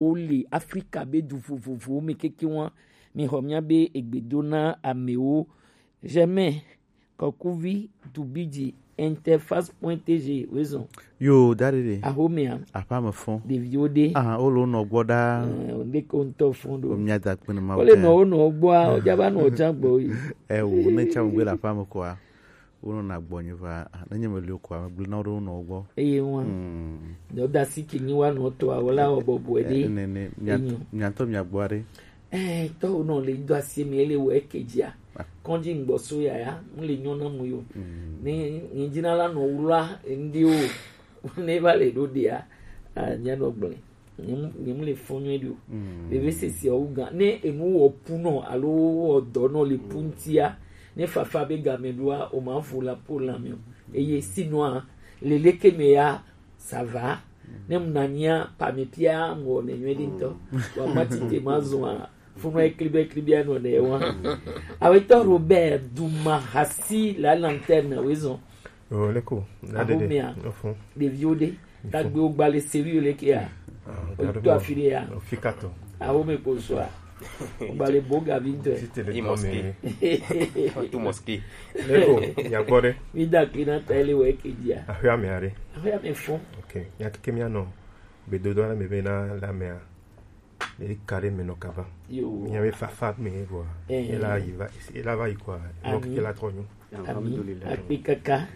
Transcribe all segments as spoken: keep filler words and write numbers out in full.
Wole Afrika be du vovovowo me keke wa. Mi xɔ mia be egbe do na amewo. Germain Kɔkuvi Dubidzi interface point T G wezɔn. Yo, da ɖe ɖe. Axomea. Aƒea me fɔn. Ɖeviwo ɖe. Ah, wo le wo nɔ gbɔ ɖaa. Eh, wo ɖe ko ŋutɔ fɔn ɖo. Wo mia da kpe ne ma. Wo le nɔ wo nɔ gbɔa, wo dza va nɔ dza gbɔ yi. Eh, wo ne tsa mo gbe le aƒea me kɔa. Wonɔna gbɔnye va, nenye meli o koa, megblɔna wo ɖe wonɔwo gbɔ. Eye wa. Mm. Dɔdasi ke nyi wa nɔ tɔa, wala wɔ bɔbɔe ɖe. Eh, ne, ne, mia-, enyo. Miatɔ miagbɔ ɖe. Eh, tɔ wonɔ le do asi mi ele wɔ eke dzia. Ah. Kɔndzi ŋgbɔ so yaya, mu le nyɔ na mu yo. Mm. Ne, ne dzina la nɔ wula, ndi o. Ne va le ɖo ɖia, ah, nya nɔ gblẽ. Nyem-, nyem le fɔn nyuie ɖi o. Mm. Veve sese wu gan. Ne enu wɔ pu nɔ alo wɔ dɔ nɔ le pu ŋutia, ne fafa be game ɖoa, o ma fu la po la mi o. Eye sinua, lele ke me ya, ça va. Ne mu na nya pa mi pia ŋɔ ne nyuie ɖi ŋutɔ. Wa ma tite ma zɔn a, funu eklibe eklibe anɔ ne wa. Awetɔ Robert Duma Hasi la lanterne wezɔn. Oh, leko, na dede. Axomea. Ofun. Ɖeviwo ɖe. Tagbewo gba le sérieux le kea. Ah, o to afi ɖe ya. Ofikato. Axome ko so a. O gba le bo gavi ŋutɔ. Ti te le mosquée. Tout mosquée. Leko, ya gbɔ ɖe. Mi da kli na ta ele wɔ eke dzia. Axea me are. Axea me fɔn. Ok, ya ke mi anɔ. Be dodo na me be na la mea. Eka ɖe me nɔ kaba. Yo. Mia be fafa me vɔa. Eh. Ela yi va, ela va yi kɔa. Ami. Ela trɔ nyo. Ami. Alhamdulillah. Akpe kaka.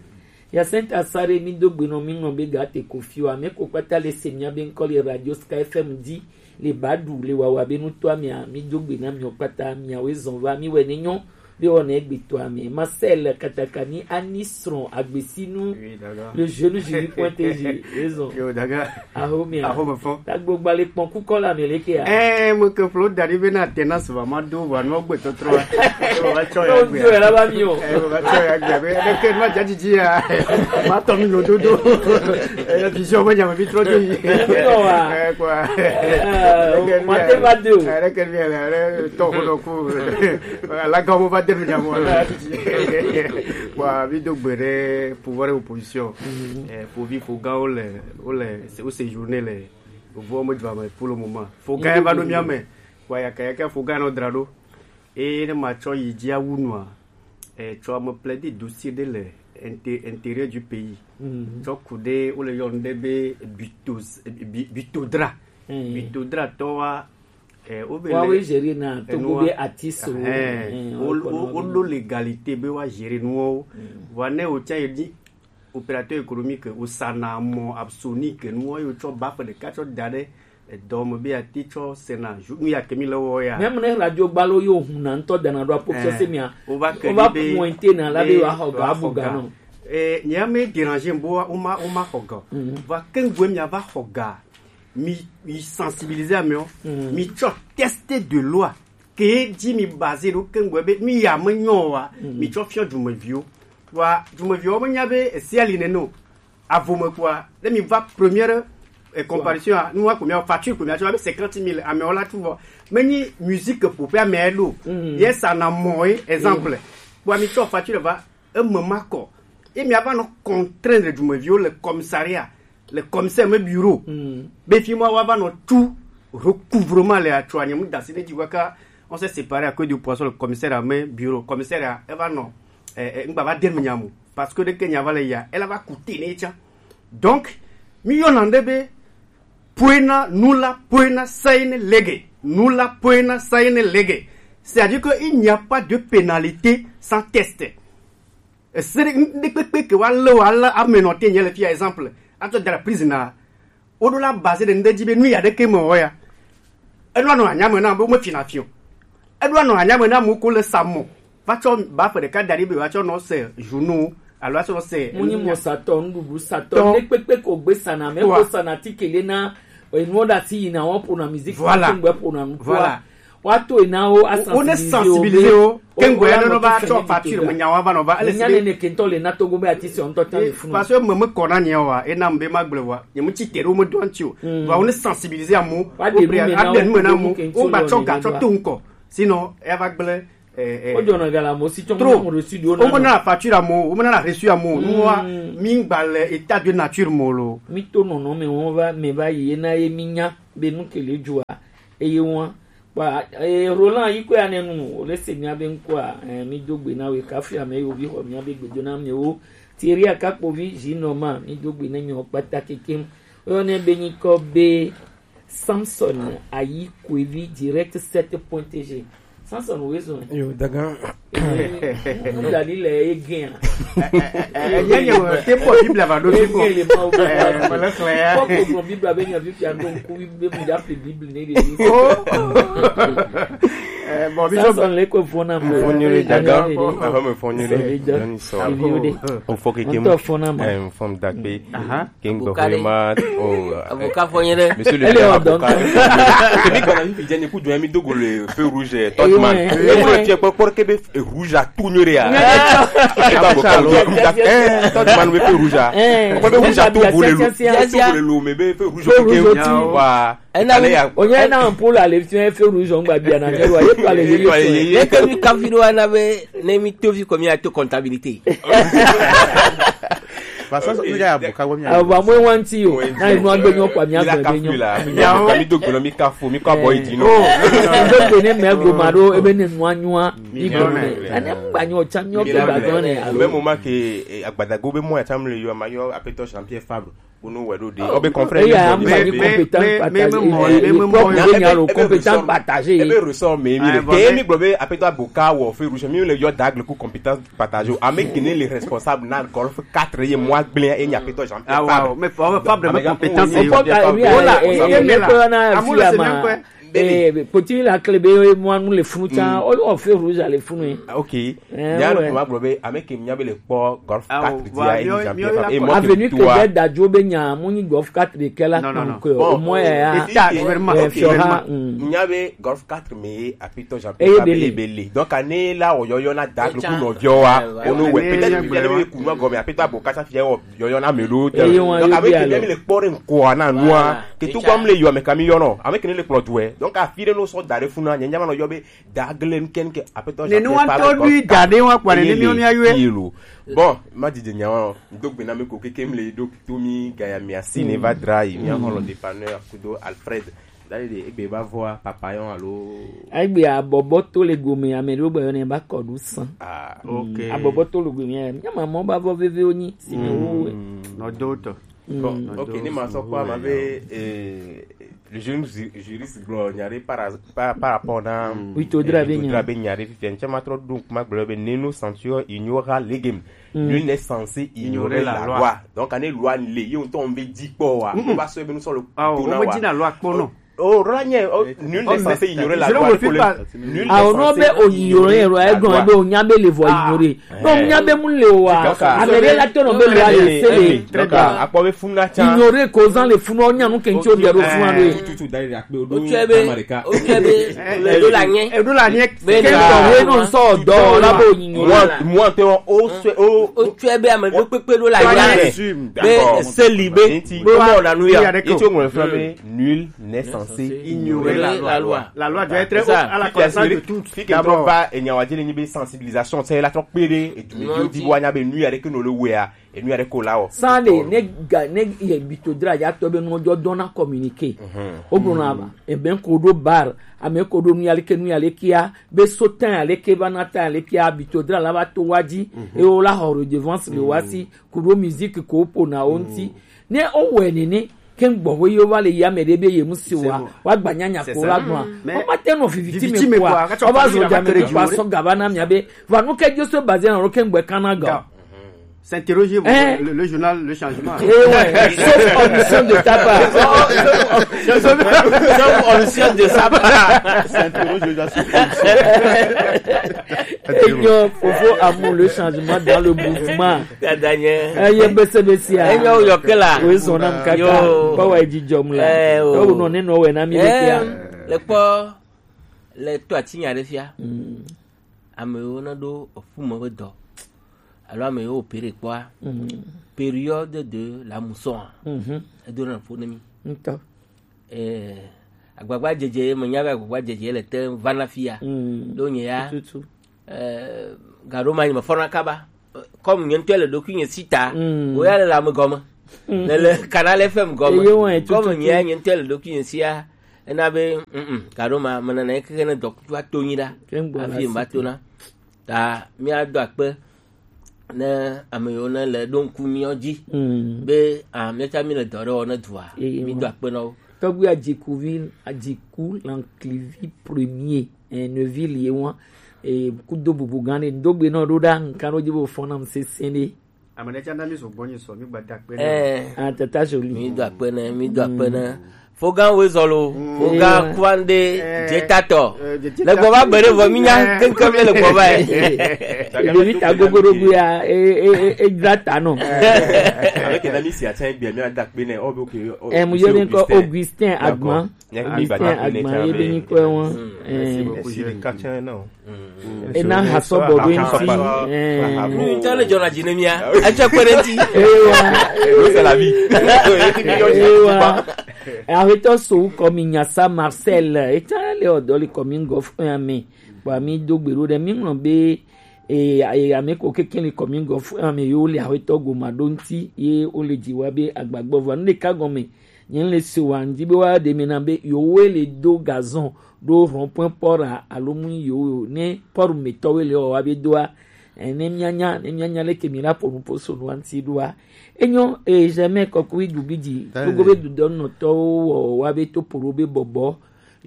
Ya senta sare mi do gbe nɔ mi nɔ be ga te ko fi wa. Me ko kpata le se mia be ŋkɔ le radio Sky F M di le ba du le wawa be nu to amia mi do gbe na mi o kpata mia we zɔn va mi wɛ ne nyɔ. Be wɔna egbetɔa me. Marcel Katakani Ani srɔ̃ agbesinu. Oui, d'accord. Le jeune jury point T G. Raison. Yo, d'accord. Axomea. Axome fɔn. Tagbo gba le kpɔn kukɔ la me le kea. Eh, mo ke flo dari be na tena sva ma do wa no gbe totro. Wa cho ya gbe. Yo, la ba mi o. Eh, wa cho ya gbe. Be de ke ma jaji ji ya. Ma to mi no dodo. Eh, vision ma nya ma bi tro do yi. Yo wa. Eh, quoi. Eh, ma te ba do. Eh, ke mi la, to ko do ku. Voilà, quand on va terminer, moi, là. Bon, avis de Béré, pouvoir et opposition. Mhm. Eh, faut vivre, faut gars, on les, on les, c'est, on séjourner les, on voit, moi, je vais pour le moment. Faut gars, va nous miamer. Ouais, ya, ya, faut gars, notre drado. Et le match, il dit à Wounoua. Eh, tu vas me plaider dossier de l'intérieur du pays. Mhm. Tu as coudé, ou le yon de bito, bitodra. Mhm. Bitodra, toi, Eh, o be wa le we gérer na to enu go wa be artiste o. Eh, eh, o, o, o lo légalité be wa gérer nu o. Mm. Wa ne o tsa ye di opérateur économique o sana mo absonique nu o yo tso ba fe de ka tso da de, eh, dɔme be ati tso sena ju nu ya kemi le wo ya. Même ne radio gbalo yo hun na ŋutɔ dana do apɔ se mia. O va ke o va be pointer na la be wa ho ga bu ga no. Eh, nya me déranger bo o ma, o ma ho ga. Mm. Va ke ngwe mia va ho ga. Mi, mi sensibiliser amewo. Mm. Mi tsɔ texte de loi ke dzi mi basé ɖo keŋgbɔ be nu ya me nyɔ wa. Mm. Mi tsɔ fiɔ dumeviwo. Wa dumeviwo me nya be esi ali nene o. Avo me kua, ne mi va première, eh, comparution a, nu wa ko mi facture ko mi atsɔ be cinquante mille amewo la tu vɔ. Me nyi musique ƒoƒe ame ɖo. Mm. Ye sa na mɔ ye exemple. Mm. Kpɔa mi tsɔ facture va eme ma kɔ. Ye mi ava nɔ contraindre dumeviwo le commissariat, le commissaire me bureau. Mm. Be fi ma wa va nɔ tu recouvrement le atsɔ anye mu dasi ne dzi wa ka on s'est séparé à cause du poisson, le commissaire a me bureau, commissaire a eva nɔ eh, eh, ngba va de me nyamu parce que de ke nya va le ya, elle va coûter ne tsa. Donc mi yɔ na nde be poena nula poena saine lege, nula poena saine lege. C'est-à-dire que il n'y a pas de pénalité sans test. Esere ŋɖekpekpe ke wa le wa le ame nɔ te nye le fia exemple. Atsɔ da la prison na. Wo ɖo la base de ŋɖe dzi be nu ya ɖeke me wɔ ya. Eɖo anɔ anya me na be me fina fio. Eɖo anɔ anya me na mu ko le samɔ. Va tsɔ ba fe ɖeka da ɖi be va tsɔ nɔ se journaux alo atsɔ nɔ se. Mu nyi mɔ satɔ, nuɖuɖu satɔ. Tɔ. Ŋɖekpekpe ko gbe sana, me ko sana ti kele na. Enuwo ɖe asi yina wɔn ƒona musique. Voilà. Ŋgbe ƒona nu. Voilà. Woato yi na wo, wo ne sensibiliser wo. Keŋgbe ya ne va tsɔ facture me nya wa va nɔ va. Ele nya ne ne kentɔ le na Togo be ati se ŋutɔ ta le funu. Parce que me me kɔna nya wa, e na mbe ma gble wa. Ye mu tsi tere wo me do anti o. Va wo ne sensibiliser amu. Wa de nu me na mu. Wo ba tsɔ ga tsɔ to ŋkɔ. Sinon e va gble. Wo jɔ na ga la mo si tsɔ mo reçu do na. Wo me na facture amu, wo me na reçu amu. Nu wa mi gba le état de nature mo lo. Mi to nɔnɔ me wo va me va yi na ye mi nya. be nu ke le dzua eye ŋua. Kpa, eh, Roland yi koe ane nu, o le se mía be ŋkɔa, eh, mi do gbe na we, kafi ame yo vi xɔ mía be gbedo na mi wo. Thierry Akakpovi, Jinoma, mi do gbe na mi wo kpata kekem. Oyɔ ne be nyikɔ be Samson Ayi Kwevi direct sept point G. Samson wo ezo. Yo, dagan. Mu dali le egen. Enye nye wo te bɔ Biblia va ɖo fi ko. Egen le ma wo. Eh, mele xlẽ ya. Kɔ ko Biblia be nya Biblia ɖo ŋku be mu ya ƒle Biblia ne ɖe. Oh. Eh, bon, Bishop. Samson le ko fona mo. Fonyore dagan. Aho me fonyore. Sɔvi dɔ. Sɔvi dɔ. O fo keke mu. Ŋutɔ fona mo. Eh, fom dagbe. Aha. King Avocat Dohima, oh, avocat fɔ nye ɖe. Monsieur le maire, avocat. Kemi gana mi fidjani ku dwe mi dogo le feu rouge, eh, Totman. Eh, ouais. Rouge, eh, pour, pour que be, eh, rouge à tout nyore ya. Eh, Totman be feu rouge à. Eh, pour be rouge à tout boule lo. Tout boule lo, mais be feu rouge. Feu rouge. Wa. Ena mi, onye na ampoule à l'élection, feu rouge, on va bien, na, ye to aller, ye to aller. Ye ke mi kafi do ana be, ne mi tovi ko mi a to comptabilité. Parce que il y a beaucoup de... Ah, bah, moi, one tea, yo. Na, il nous a gagné quoi, mi a gagné. Mi do gbe na mi kafu, mi ka boy di no. Oh, do gbe ne me go ma do, ebe ne nwa nwa. Mi go ne. Ane mba nyo cha mi o ke ba go ne. Au même moment que, eh, Agbadago be mo ya cha mi le yo ma yo apeto Jean-Pierre Fabre. Unu wɛ ɖo ɖe. Ɔbe confrère. Eya mi ba ni compétent partagé. Ebe ressort, ebe ressort me mi le. Ke mi gblɔ be apeto Aboka wɔ feu rouge, mi le yɔ dagle ku compétence partagée. Ame kene le responsable na Golf quatre ye mwa gblẽ ye nya apeto Jean-Pierre Fabre. Ah, mais pas vraiment compétence. Voilà, eh, eh, eh, eh, Poti la kle be mo anu le funu tsa, o, o feu rouge le funu. Ah, ok. Eh, nya no ma gblɔ be ame ke nya be le kpɔ Golf quatre dia e Jean-Pierre Fabre. E mo avenue ke be dajo be nya mo ni Golf quatre de kela. Non, non, non. Ke o mo ya. Eta gouvernement, ok. Nya be Golf quatre me apeto Jean-Pierre Fabre e bele. Donc ane la o yo yo na dagle ku no vio wa. O no we peut-être que le ku no go me apeto Aboka sa fi o yɔyɔ na ame ɖewo te. Eye wọn. Donc, ame ke mi le kpɔ ɖe ŋkɔa na nua, ke tu gbam le yɔ ame kami yɔ nɔ, ame ke ne le kplɔ duɛ. Donc, afi ɖe no sɔ da ɖe funu na, nye nyama nɔ yɔ be dagle nu kɛn ke apeto ne nu wa tɔ du da ɖe wa kpa ne mi mi ayue. Bon, ma didi nya wa, do gbe na mi ko keke mi le do to mi gaya mi asi ne va dra yi, mi ahɔlɔ dépanneur kudo Alfred. Dali de egbe ba vɔa papayɔn alo. Egbe abɔbɔ to le gome, ame ɖewo gbe yɔnɛ ba kɔɖu san. Ah, ok. Abɔbɔ to le gome, nya ma mɔ ba vɔ veve wonyi si me wo. Nɔ do tɔ. Bon, ok, ni ma sɔ kɔ ma be, eh, le jeune ju-, juriste gblɔ nya ɖe par, par, par rapport na, oui, to dra be nya. To dra be nya ɖe fifia, ntse ma trɔ ɖo ŋku ma gblɔ be ne nous sentions ignorants legem. Nul n'est censé ignorer la loi. Donc, ane loi le, ye ŋutɔ ŋbe dzi kpɔ wa. Wo va sɔ ebe nu sɔ le dona wa. Wo me dzi na loi kpɔ nɔ. Oh, loi nye, oh, nul n'est censé ignorer la loi. Nul n'est censé ignorer la loi. Awo no be o ignorer loi, e gɔn be o nya be le vɔ ignorer. No nya be mu le wa. Ame ɖe la to no be loi le se le. Très bien. Akpɔ be funu na tsa. Ignorer causant le funu, o nya nu ke ŋtsi o de ɖo funu a ɖo ye. Tutu da ri akpe o do. O tsɛ be, o tsɛ be, e ɖo la nye. E ɖo la nye. Be ke ŋutɔ we nɔ sɔ dɔ la bo yin yo la. Moi, moi, te o, o se, o, o tsɔe be ame ɖo kpekpe ɖo la ya. Be seli be, be mɔ na nu ya. Etsɔ ŋlɔ fla be nul n'est censé ignorer la loi. La loi doit être à la connaissance de tous. Fi ke trɔ va enya wa dzi le nyi be sensibilisation, c'est la trɔ kpe ɖe edu me di wa nya be nu ya ɖe ke no le wea. Enu ya ɖe ko la wɔ. Sane ne ga, ne ye bito dra ya tɔ be nujɔ dɔn na communiqué. O gblɔ na ba, ebe ko ɖo bar, ame ko ɖo nu ya leke, nu ya leke ya, be so tan ya leke ba na tan ya leke ya, bito dra la ba to wa dzi, e o la xɔ redevance le wa si, ku ɖo musique ko po na o ŋti. Ne o wɛ nene, ke gbɔ wo yo va le ya me ɖe be ye mu si wa, wa gba nya nya ko la gblɔ. O ma te nɔ viviti me kwa, o va zo dza me kwa sɔ ga ba na mia be, va nu ke jo so baze na ro ke gbɛ kana ga. S'interroger, le, le journal, le changement. Eh ouais, sauf omission de ta part. Sauf, sauf omission de sa part. S'interroger déjà sur omission. Enyo, fofo amour, le changement dans le mouvement. Daniel. Eh, ye bese bese a. Enyo, yo kela. Oui, son âme kaka. Yo. Ba wa di jom la. Eh, oh. Yo, no, ne, no, we, na mi, le kia. Le kpɔ, le to ati nya ɖe fia. Ame yiwo ne ɖo eƒu me ƒe dɔ alo ame yiwo opere kpɔa, période de la mousson a, edona ƒo ne mi. Ŋutɔ. Eh, agbagba dzedze, menya be agbagba dzedze le te va na fia. Ɖo nye ya, eh, gaɖo ma nye me fɔna kaba. Comme nye ŋutɔ le ɖokuinye si ta, wo ya le le ame gɔme. Ne le Canal F M gɔme. Eye wɔn etutu. Gɔme nyea nye ŋutɔ le ɖokuinye sia. Ena be, mm, mm, gaɖo ma, menana ye keke ne dɔkutua to nyi ɖa. Ke ŋgbo la afi mba si tona. Ta míado akpe ne ame yiwo ne le ɖo ŋku míawo dzi. Mm. Be, ah, míawo tsã míle dɔ ɖe wɔ ne dua. Eye wɔn. Mído akpe na wo. Tɔgbi Adjikuvi, Adjiku Lanklivi premier, eh, Neuville ye wɔn, eh, kudo bubu gã ɖe, ŋdo gbe nɔ ɖo ɖa, ŋkan ɖo dzi bo fɔn nam sesẽ ɖe. Ame ɖe tsã na mi zo gbɔ nyi sɔ, mi gba da akpe na. Eh. Ah, tata Jolie. Mi do akpe ne, mi do akpe ne. Fogan Wezɔlo, Fogan Kwande, Jetatɔ. Eh, Jetatɔ. Le gbɔ va be ɖe vɔ, mi nya keŋkeŋ mi le gbɔ va yi. Ɖevi ta gogoɖogo ya, e, e, e, e dzra ta nɔ. Avec un ami si atteint bien, mi ada akpe ne, oh, ok, oh, eh, mu yɔ ne ko Augustin Agban. D'accord. Augustin Agban ye be nyi kɔe wɔn. Mm. Eh. Merci beaucoup, Julie. Esi ɖeka tsɛ na o. Mm. Ena hasɔ bɔ ɖo ŋti. Eh. Nu ŋutɔ ne dzɔna dzi ne mía. Etsɛ kpe ɖe ŋti. Ewa. Lo c'est la vie. Ewa. Aƒetɔ Sowu kɔ mi nyasa Marcel. Etsã le ɔdɔ le kɔmi ŋgɔ fún ya me. Kpɔ mi do gbe ɖo ɖe mi ŋlɔ be, e, e, ame ko keke le kɔmi ŋgɔ fún ya me yo le aƒetɔ goma ɖo ŋti ye wo le dzi wa be agbagbɔ vɔ. Nu ɖeka gɔme. Nye le se wa ŋdi be wa ɖe mi na be yewoe le do gazon ɖo rond-point port a alo mu yewo ne port me tɔwoe le wa be doa. Eh, ne mianya, ne mianya leke mi la ƒo nu ƒo so nu ŋti ɖoa. Enyo, eh, jamais kɔkui du bi dzi. Togo be dudɔnɔtɔwo wɔ wa be to poro be bɔbɔ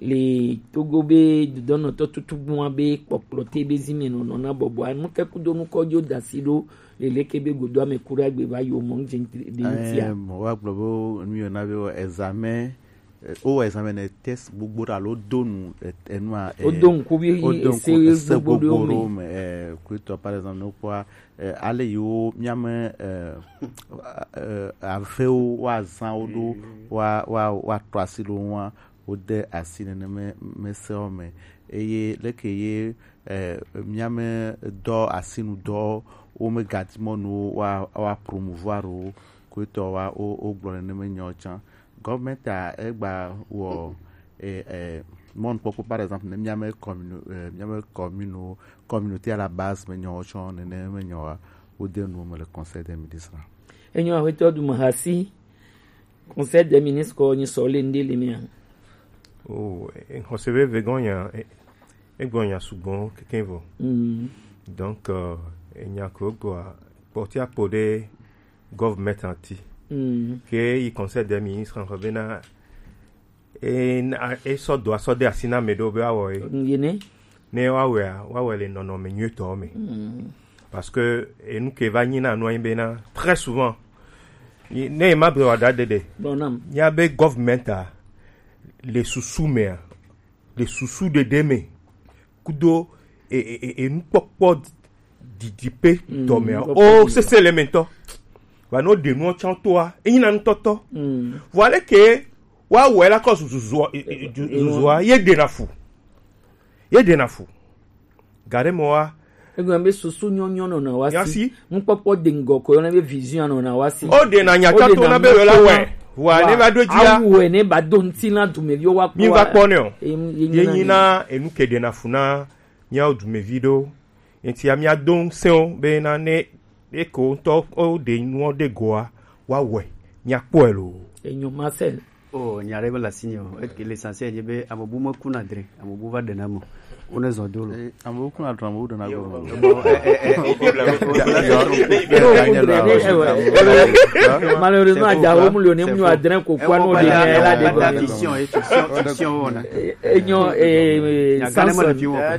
le Togo be dudɔnɔtɔ tutu gbɔn be kpɔkplɔ te be zi me nɔnɔ na bɔbɔ. Anu ke kudo nu kɔjo dasi ɖo le leke be godo ame kura gbe va yo mɔ ŋdze ɖe ŋtia. Eh, mo wa gblɔ be nu yɔ na be examen, eh, wo examen ne test gbogbo ɖe alo do nu, eh, enua, eh, wo do ŋku bi ese gbogbo ɖewo me, eh, kuitɔ, par exemple, ne kpɔa, eh, ale yiwo miame, eh, eh, avewo wa zã wo ɖo, wa, wa, wa trɔ asi ɖo ŋua, wode asi neneme mesewo me. Eye leke ye, eh, míame dɔ asinudɔ wo megadi mɔnu wa, wa promouvoir o, kuitɔ wa o, o gblɔ neneme nyawo tsã. Gɔvmɛnta egba wɔ, eh, eh, mɔnukpɔkpɔ, par exemple, ne míame commune, eh, míame commune, communauté à la base me nyawo tsã neneme nyawa wode nu me le Conseil des ministres. Enyo aƒetɔ du mahasi. Conseil des ministres ko nyi sɔ le ŋɖe le mea? Oh, eh, xɔse veve gɔn nya, eh, eh, gɔn nya sugbɔ keke vɔ. Mm. Donc, euh, enya ko gɔa, kpɔti akpɔ ɖe government ati. Mm. Ke yi Conseil des ministres xɔ bena, eh, na, eh, sɔ do asɔ de asi na me ɖo be awɔ ye. Mm, ye ne? Ne woawɔea, woawɔe le nɔnɔme nyuitɔ me. Mm. Parce que enu ke va nyi na nua nyi bena, très souvent, ne ma ble wa da ɖeɖe, nya be government a, le susu mea, le susu ɖeɖe me, kudo e, e, e, enukpɔkpɔ didiƒe tɔ mea, o sese le me ŋutɔ. Va no ɖe nuɔ tsã toa, enyi na nutɔtɔ. Vɔ ale ke woawɔe la kɔ zuzua, zuzua, ye ɖena fu. Ye ɖena fu. Gaɖe mɔ wa. Egɔme be susu nyɔnyɔ nɔna wa si. Nukpɔkpɔ de ŋgɔ ko yɔna be vision nɔna wa si. O ɖena nya tsa to na be wela wɛ. Wa ne va do dzi a. Awɛ ne ba do ŋti na dumeviwo wa kpɔ. Mi va kpɔ ne o. Ye nyi na enu ke ɖena fu na miawo dumevi ɖo. Enti amia do ŋsɛwo be na ne eko ŋutɔ o ɖe nuɔ ɖe goa wa wɛ. Mia kpɔe lo. Enyo Marcel. Oh, nya ɖe mele asinye o. Eke l'essentiel nye be ame bu mekuna dre, ame bu va ɖena me o. Wone zɔ do lo. Eh, ame bu kuna dre, ame bu ɖena go. Malheureusement, adza wo mu le ne mu adre ko kwa no de ne la de go. Fiction, eh, fiction, fiction wona. Enyo, eh, Samson.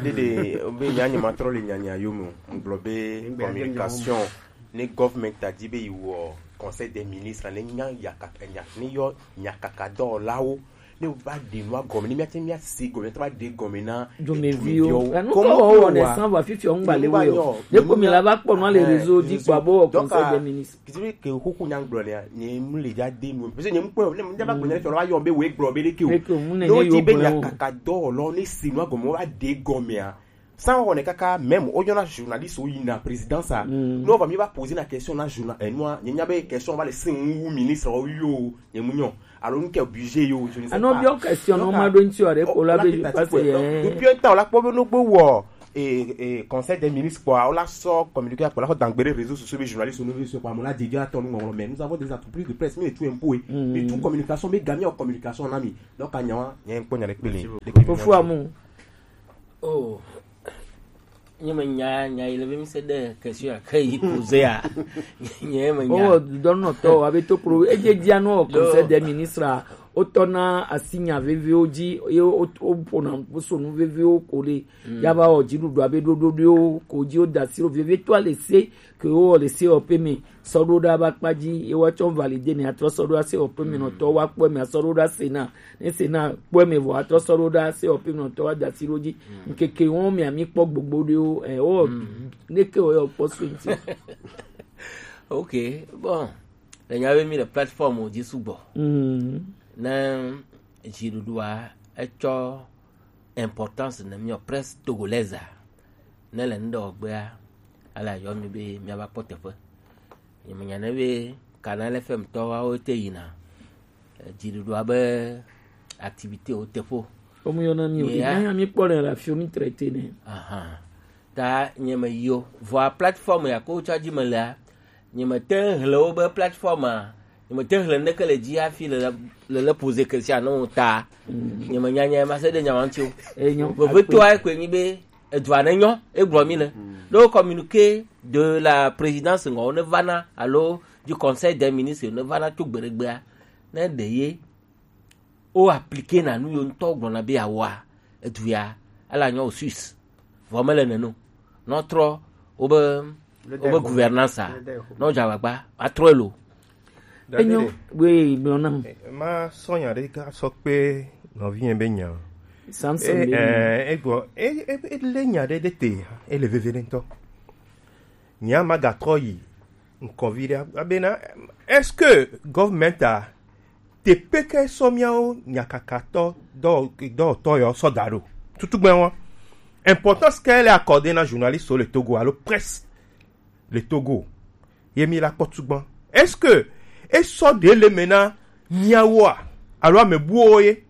Dede, be nya nye matrɔ le nya nya yo me o. Ngblɔ be communication. Ne government a di be yi wɔ Conseil des ministres, ne nya yakaka, nya, ne yɔ nyakaka dɔwɔlawo, ne va ɖe nua gɔme, ne míate mía se gɔme, míate va ɖe gɔme na dumeviwo. Enu kɔ wɔ wɔ ne san va fifi ŋgba le wo yɔ. Ne ko mi la va kpɔ nua le réseau di kpɔ abo wɔ Conseil des ministres. Kiti ke xuxu nya gblɔ nea, nye mu le dza de nu. Parce que nye mu kpɔ, ne mu dza va gblɔ ne tɔ la va yɔ be wo gblɔ be ɖeke o. Ne wo di be nyakaka dɔwɔlawo ne se nua gɔme, wo va ɖe gɔmea. San wɔwɔ nɛ kaka, même wonyɔna journaliste wo yina présidence a. Ne wova mi va poser na question na journal, eh, nua, nye nya be question va le sing wu ministre wo yo, nye mu nyɔ. Alo nu ke budget yo, je ne sais pas. Anɔ biɔ question no ma ɖo ŋti o ɖe ko la be je passe ye. Depuis un temps la kpɔ be no gbe wɔ Et, et conseil des ministres quoi, on l'a sort communiqué pour la dangberer réseaux sociaux, les journalistes, nous sur quoi, on l'a dit à ton numéro, mais nous avons des entreprises de presse, mais tout un peu, mais tout communication, mais gagner en communication, on a mis. Donc, il y a un point avec Pélé. Fofo amu. Oh. Nye me nya nya yi le be mi se de question ya ke yi poser ya. Nye me nya. Oh, donno to abe to pro e je dia no conseil des ministres. Wotɔna asi nya veviwo dzi eye woƒona sonu veviwo ko ɖe ya va wɔ dziɖuɖu abe ɖoɖoɖoewo ko dzi woda asi ɖo vevie to alesi ke wowɔ le sewɔƒe me sɔ ɖo ɖe aba kpa dzi ye woatsɔ valide ne atrɔ sɔ ɖo asewɔƒe me nɔtɔ woakpɔ me asɔ ɖo ɖe asena ne sena kpɔ me vɔ atrɔ sɔ ɖo ɖe asewɔƒe me nɔtɔ woada asi ɖo dzi ŋkeke wɔn me ami kpɔ gbogbo ɖewo ɛ wɔ neke wɔ yɔ kpɔ so ŋti. Ok, bon, le nya be mi le plateforme dzi sugbɔ. Ne dziɖuɖua etsɔ importance ne miɔ presse togolaise ne le ŋɖe gbea ala yɔ mi be miava kpɔ teƒe. Nyemenya ne be Canal F M tɔwawo te yina dziɖuɖua be activité wo teƒe o. Womu yɔna mi o. Ina ya mi kpɔ le la fio mi traité ne. Ahan. Ta nye me yi o. Vɔa plateforme ya ko tsɔ dzi me lea, nye me te ŋu hle wo be plateforme a, nye me te ŋu hle neke le dzi hafi le le poser question na wo ta. Nye me nya nya ma se de nya wa ŋuti o. Enyo. Vevetoa koe nyi be edua ne nyɔ, egblɔ mi le. Ɖo communiqué de la présidence ŋɔ ne vana alo du conseil des ministres ne vana tso gbeɖegbea, ne ɖe ye wo appliquer na nu yo ŋutɔ gblɔna be yeawɔa, edu ya ala nyɔ o Suisse. Vɔ mele nene o. Nɔ trɔ wobe wobe gouvernance a nɔ dza agbagba atrɔ elo. Enyo. Wee gblɔ nam. Ma sɔ nya ɖe ga sɔ kpe nɔvi yɛn be nya. Samson be nya. Egbɔ ele nya ɖe ɖe te ele veve ɖe ŋutɔ. Nya ma gatrɔ yi ŋkɔvi ɖe abena, est-ce que government a teƒe ke sɔ miawo nyakakatɔ dɔwɔtɔ yɔ sɔ da ɖo? Tutugbɛ wɔn importance ke le accordé na journaliste le Togo alo presse le Togo ye mi la kpɔ tugbɔn? Est-ce que esɔ ɖe le me na miawoa alo ame buwo ye?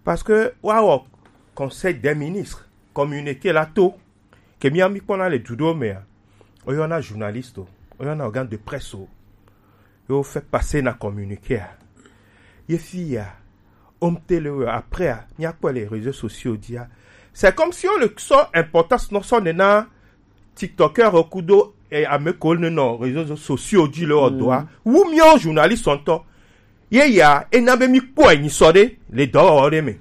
Parce que woawɔ conseil des ministres communiqué la to ke mía mi kpɔna le du ɖewo mea, woyɔna journaliste o, woyɔna organe de presse o, ye wofɛ passer na communiqué a, ye fi ya omte le we après a, míakpɔe le réseaux sociaux dzia, c'est comme si wole sɔ importance nɔ sɔ nena tiktokeur kudo eh, ame ko ne nɔ réseaux sociaux dzi le wɔ dɔa wu míawo journaliste ŋutɔ. Ye ya ena be mi kpɔe nyi sɔ ɖe le dɔwɔwɔ ɖe me.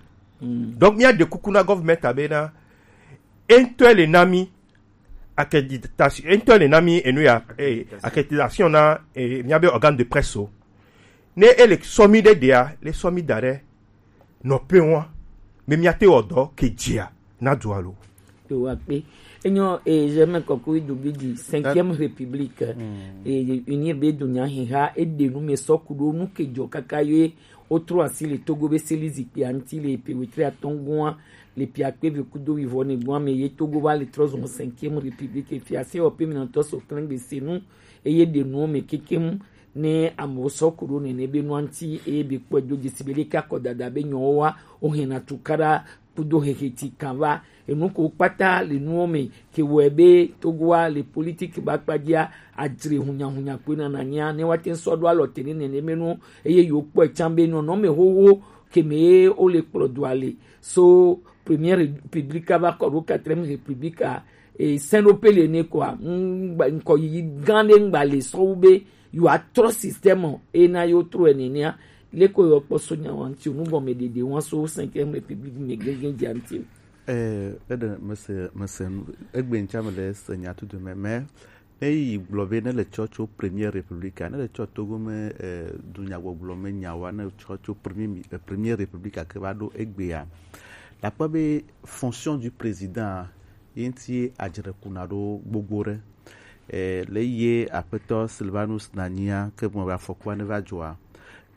Donc mía ɖe kuku na government abe na entɔ le na mi accréditation, entɔ le na mi enu ya eh, accréditation na eh, mía be organe de presse o. Ne ele sɔ mi ɖe ɖea, le sɔ mi da ɖe nɔƒe wɔn be míate wɔ dɔ ke dzia na dua lo. Yewoa kpe. Enyo eh, je me kɔkɔ idu bi di cinquième république eh, unir be do nya hiha e de nu me sɔ ku ɖo nu ke dzɔ kaka ye wotrɔ asi le Togo be seli zikpia ŋuti le pe wetri atɔ̃ gua le pe akpe ve kudo wivɔ ne gua me ye Togo va le trɔ zɔn cinquième république fia se wɔ pe mi na tɔ so klɛngbe se nu eye ɖe nuwo me kekem ne amewo sɔ ku ɖo nene be nua ŋuti eye be kpɔe do dzesi be leke akɔdada be nyɔwo wa wohena tukaɖa kudo heheti kan va enu ko kpata le nuwo me ke wɔe be Togoa le politiki ba kpadzia adzre hunyahunya koe na nanyia ne woate ŋu sɔ ɖo alɔ te ne nene me nu eye yewo kpɔe tsã be nɔnɔme xoxo ke me ye wole kplɔ doa le so première république va kɔ ɖo quatrième république a e sɛn ɖo pele ne kɔa ŋkɔ yiyi gã ɖe ŋgba le sɔwu be yewoatrɔ système ena yewo trɔe nenea leko yewo kpɔ so nyawo ŋuti o nugɔme ɖeɖe wa so cinquième république me gɛgɛ dza ŋuti o. Ɛɛ, eɖe mese mese nu egbe ŋutia me le se nya tutu me, mais ne yi gblɔ be ne le tsɔ tso première république a, ne le tsɔ Togo me ɛɛ dunyagbɔgblɔ me nyawoa, ne tsɔ tso premier mi- ɛɛ, première république a ke va ɖo egbea, la kpɔ be fonction du président ye ŋuti adzre kuna ɖo gbogbo ɖe. Eh, le ye aƒetɔ Silvanus nanyia ke me afɔkua ne va dzɔa,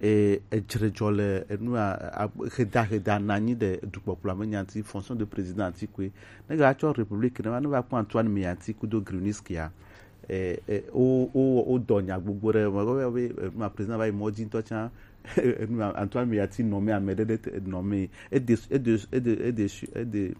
eh, edzre dzɔ le enu heda heda nanyi ɖe dukpɔkplɔa me nya ŋuti, fonction de président ŋuti koe. Ne ga tsɔ république ne va ne va kpɔ Antoine Meyanti kudo Gruniski a, eh, eh, wo wo wo dɔ nya gbogbo ɖe me be be enu président va yi mɔ dzi ŋutɔ tsã. Antoine Meyati nommé ame ɖe ɖe te- nommé et de et de et de et de et de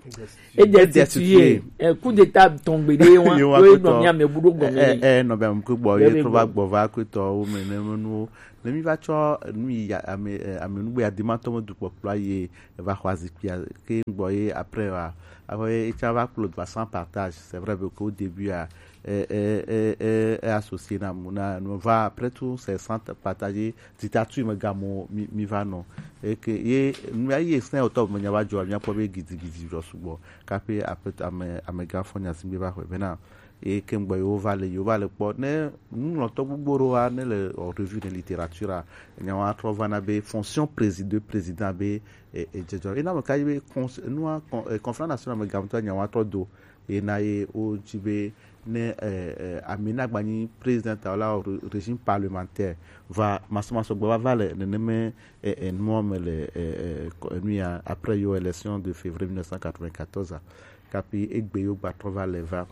Edestitué. Edestitué. Eh, coup d'état tɔn gbe ɖe wa. Ye wa wo kpɔtɔ. Nɔ mi ame bu ɖo gɔme. Eh, eh, nɔ bɛ mu gbɔ ye trɔ va gbɔ va kpɔtɔ wo me ne nu ne mi va tsɔ nu yi ame eh, ame nugbe adimatɔ me du kpɔkplɔ ye va xɔ azikpia ke gbɔ ye après wa. Après ye tsa va kplɔ va sans partage, c'est vrai que au début a eh, eh, eh, eh, eh, associé na mu na nu va après tout c'est sans partager dictature me gamo mi, mi va nɔ. Eke ye nu ya ye sɛn otɔ me nya va jɔ mi akpɔ be gidigidi jɔ sugbɔ kape ape ame amega fɔ nya singbe va xɔ bena. Eke ngbɔ yo va le yo va le kpɔ ne nu lɔtɔ gbogbo ro wa ne le o revue de littérature a nya wa trɔ va na be fonction président président be e e jɛjɔ ena me ka be cons- nua con- eh, conférence nationale me gamtɔ nya wa trɔ do ena ye wo dzi be ne eh, eh, ame na gba nyi président ta la re- régime parlementaire va masɔmasɔ gbɔ va va le neneme eh, eh, nua me le eh, eh, ko- enu ya après yo élection de février mille neuf cent quatre-vingt-quatorze a kapi egbe yo gba trɔ va le va.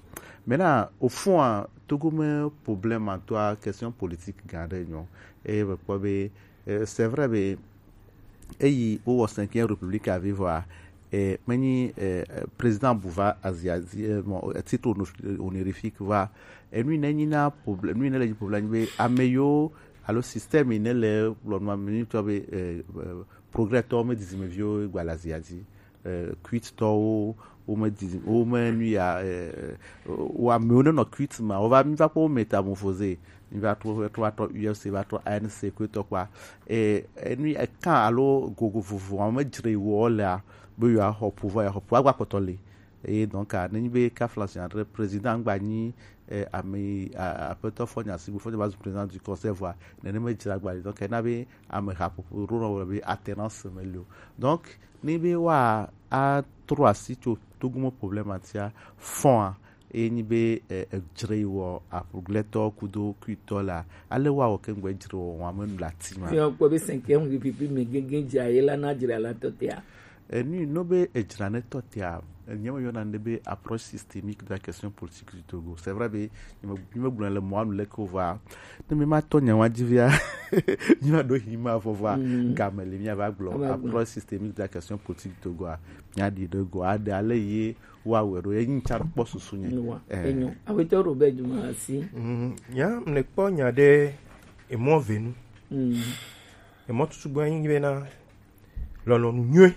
Maintenant au fond a togo me problème en toi question politique gã ɖe nyɔ eye me kpɔ be eh, c'est vrai be eyi wowɔ cinquième république avivɔa eh, menyi eh, eh, président bu va azia dzi eh, bon, eh, titre honor- honorifique va enu yi ne nyi na problème enu yi ne le nyi problème be ame yiwo alo système yi ne le gblɔnua me nyitɔ be eh, eh, progrès tɔwo me dizime viwo gba le azia dzi eh, quit tɔwo wome di wome nu ya eh, wo amewo ne nɔ quit ma wova mi va kpɔ wo métamorphosé mi va trɔ trɔ va trɔ U F C va trɔ A N C kpetɔ kpa eh, enu ekan alo gogo vovo ame dzre wo lea be yewoaxɔ pouvoir yeaxɔ pouvoir gba kpɔtɔ le eye donc a nenyi be kafla si adre président gba nyi eh, ame a- aƒetɔ fɔ nya si bu fɔ nya va zu président du conseil voa nene me dzra gba le donc ena be ame haƒoƒo ɖo nɔ be alternance me le o donc ni be wa a trɔ asi tso togumo problème atia fɔa eye nyi be eh, edzre yi wɔ apuglɛtɔ kudo kuitɔ la ale wa wɔ kengbe dzre wɔ wa me nu la ti ma Fi hàn pé bí cinquième république mi gégé dza yé la ná dzra la tɔ tɛa. Enu yi nɔ be edzra ne tɔ tɛa enye me yɔna ne be approche systémique de la question politique du Togo c'est vrai be ni me ni me gblɔ le mɔ anu leke va ne me ma tɔ nya wa dzi via ni ma do hi ma vɔ va game le mi va gblɔ approche systémique de la question politique du Togo a nya di de go a de ale ye wa wɛ do ye nyi tsa kpɔ susu nye Wa. Enyo. Awetɔ Robert Dumasi. Mm, ya mle kpɔ nya ɖe emɔ venu. Mm. Emɔ tutu gbɔ nyi bena lɔlɔnu nyuie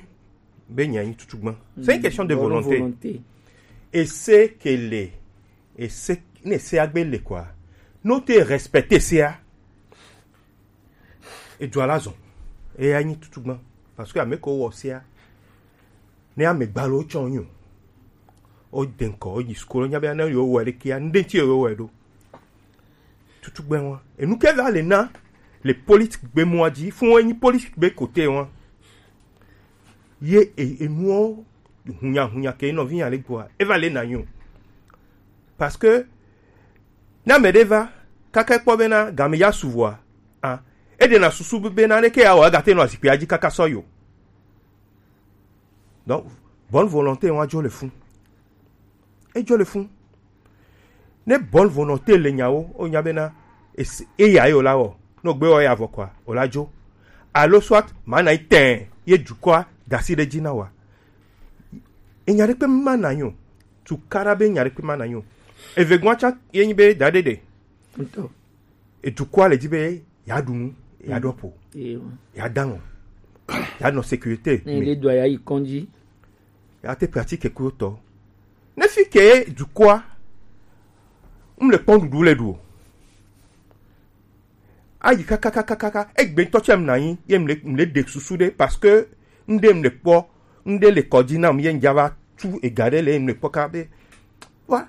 be nya nyi tutu gbɔ. C'est une question de volonté. Volonté. Ese ke le, ese ne se agbe le quoi. No te respecter se a. Edu ala zɔn. Eya nyi tutu gbɔ. Parce que ame ko wɔ se a. Ne ame gbalo tsɔ nyo. O denkɔ o yi school nya be ne yo wɔ le kia. Nde ti yo wɔ do. Tutugbɛ ŋua enu ke va le na le politique gbe mɔa dzi fún enyi politique gbe kote ŋua ye e- enuɔ hunyahunya ke nɔvi ya le gbɔa eva le na nyo parce que na me ɖe va kaka kpɔ bena game ya suvɔa a eɖe na susu bena ne ke ya wɔ egate nɔ azikpia dzi kaka sɔ yo donc bonne volonté ŋua dzo le fún edzo le fún ne bonne volonté le nyawo o nya bena es- eya ye o la wɔ no gbe wɔ ya vɔ kɔa o la dzo alo soit ma na yi tɛn ye dukɔa dasi ɖe dzi na wa enya ɖe kpe ma na nyo tukara be nya ɖe kpe ma na nyo eve gbɔn tsa ye nyi be da ɖe ɖe Ŋutɔ. Edukɔa le dzi be ya ɖu nu ya ɖɔ po Ewa. Ya da ŋɔ ya nɔ sécurité Ne me le dua ya yi kɔndzi. Ya te pratique kudo tɔ ne fi ke dukɔa m le kpɔ nuɖuɖu le ɖu o ayi kakakakaka egbe ŋutɔ tsɛ m na anyi ye m le m le ɖe susu ɖe parce que ŋɖe m le kpɔ ŋɖe le kɔdzi nam ye ŋdza va tu ega ɖe le ye m le kpɔ ka be wa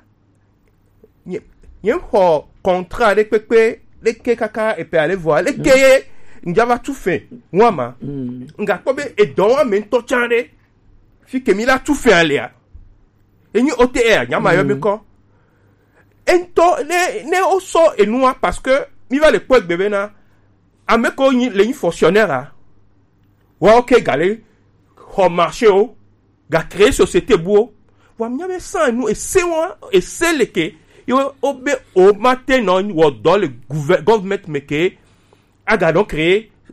nye nye xɔ contrat ɖe kpekpe ɖeke kaka epe ale vɔ leke ye ŋdza va tu fe ŋua ma ŋgakpɔ be edɔ wa me ŋutɔ tsã ɖe fi ke mi la tu fe alea enyi O T R nyama yɔ mi kɔ eŋutɔ ne ne wosɔ enua parce que mi va le kpɔ egbe bena ame ko nyi le nyi fonctionnaire a wa oke gale xɔ marché o ga créer société buwo wa mi nya be san enu ese wa ese leke yo o be o ma te nɔ wɔ dɔ le gouver- government me ke aga nɔ créer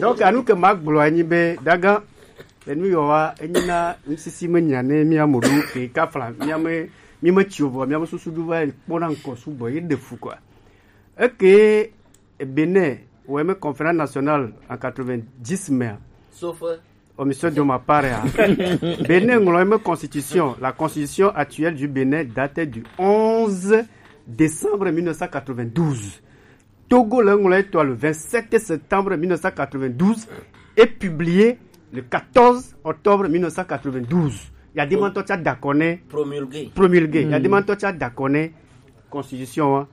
Donc anu ke ma gblɔ anyi be daga enu yɔ wa enyi na ŋsisi me nya ne mia mo ɖo ke kafla mia me mi me tsi o vɔ mia me susu ɖo va kpɔ na ŋkɔ sugbɔ ye ɖe fu quoi. Eke Bénin wɔ eme conférence nationale en quatre-vingt-dix mea. Sauf euh, Omission de ma part ya. Bénin ŋlɔ eme constitution. La constitution actuelle du Bénin date du onze décembre mille neuf cent quatre-vingt-douze. Togo le ŋlɔ etɔ le vingt-sept septembre mille neuf cent quatre-vingt-douze et publiée le quatorze octobre mille neuf cent quatre-vingt-douze. Il y a des mentors qui a d'accord promulgué. Promulgué. Il y a des mentors qui a d'accord constitution hein.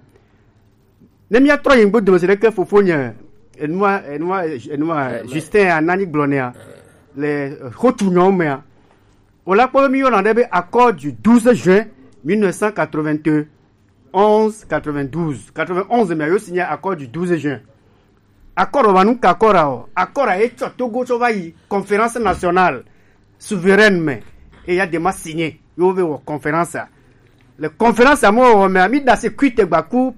Ne mia trɔ yin gbedo se ɖeke fofo nye enua enua enua Justin anani gblɔ nea le hotu nyɔ mea. O la kpɔ be mi yɔna ɖe be accord du douze juin mille neuf cent quatre-vingt-onze quatre-vingt-douze quatre-vingt-onze mea yo signé accord du douze juin. Accord wa nu ka accord o accord e tsɔ Togo tsɔ va yi conférence nationale souveraine me eya de ma signé yo ve wɔ conférence a. Le conférence a mo wɔ me mi da se kuite gba ku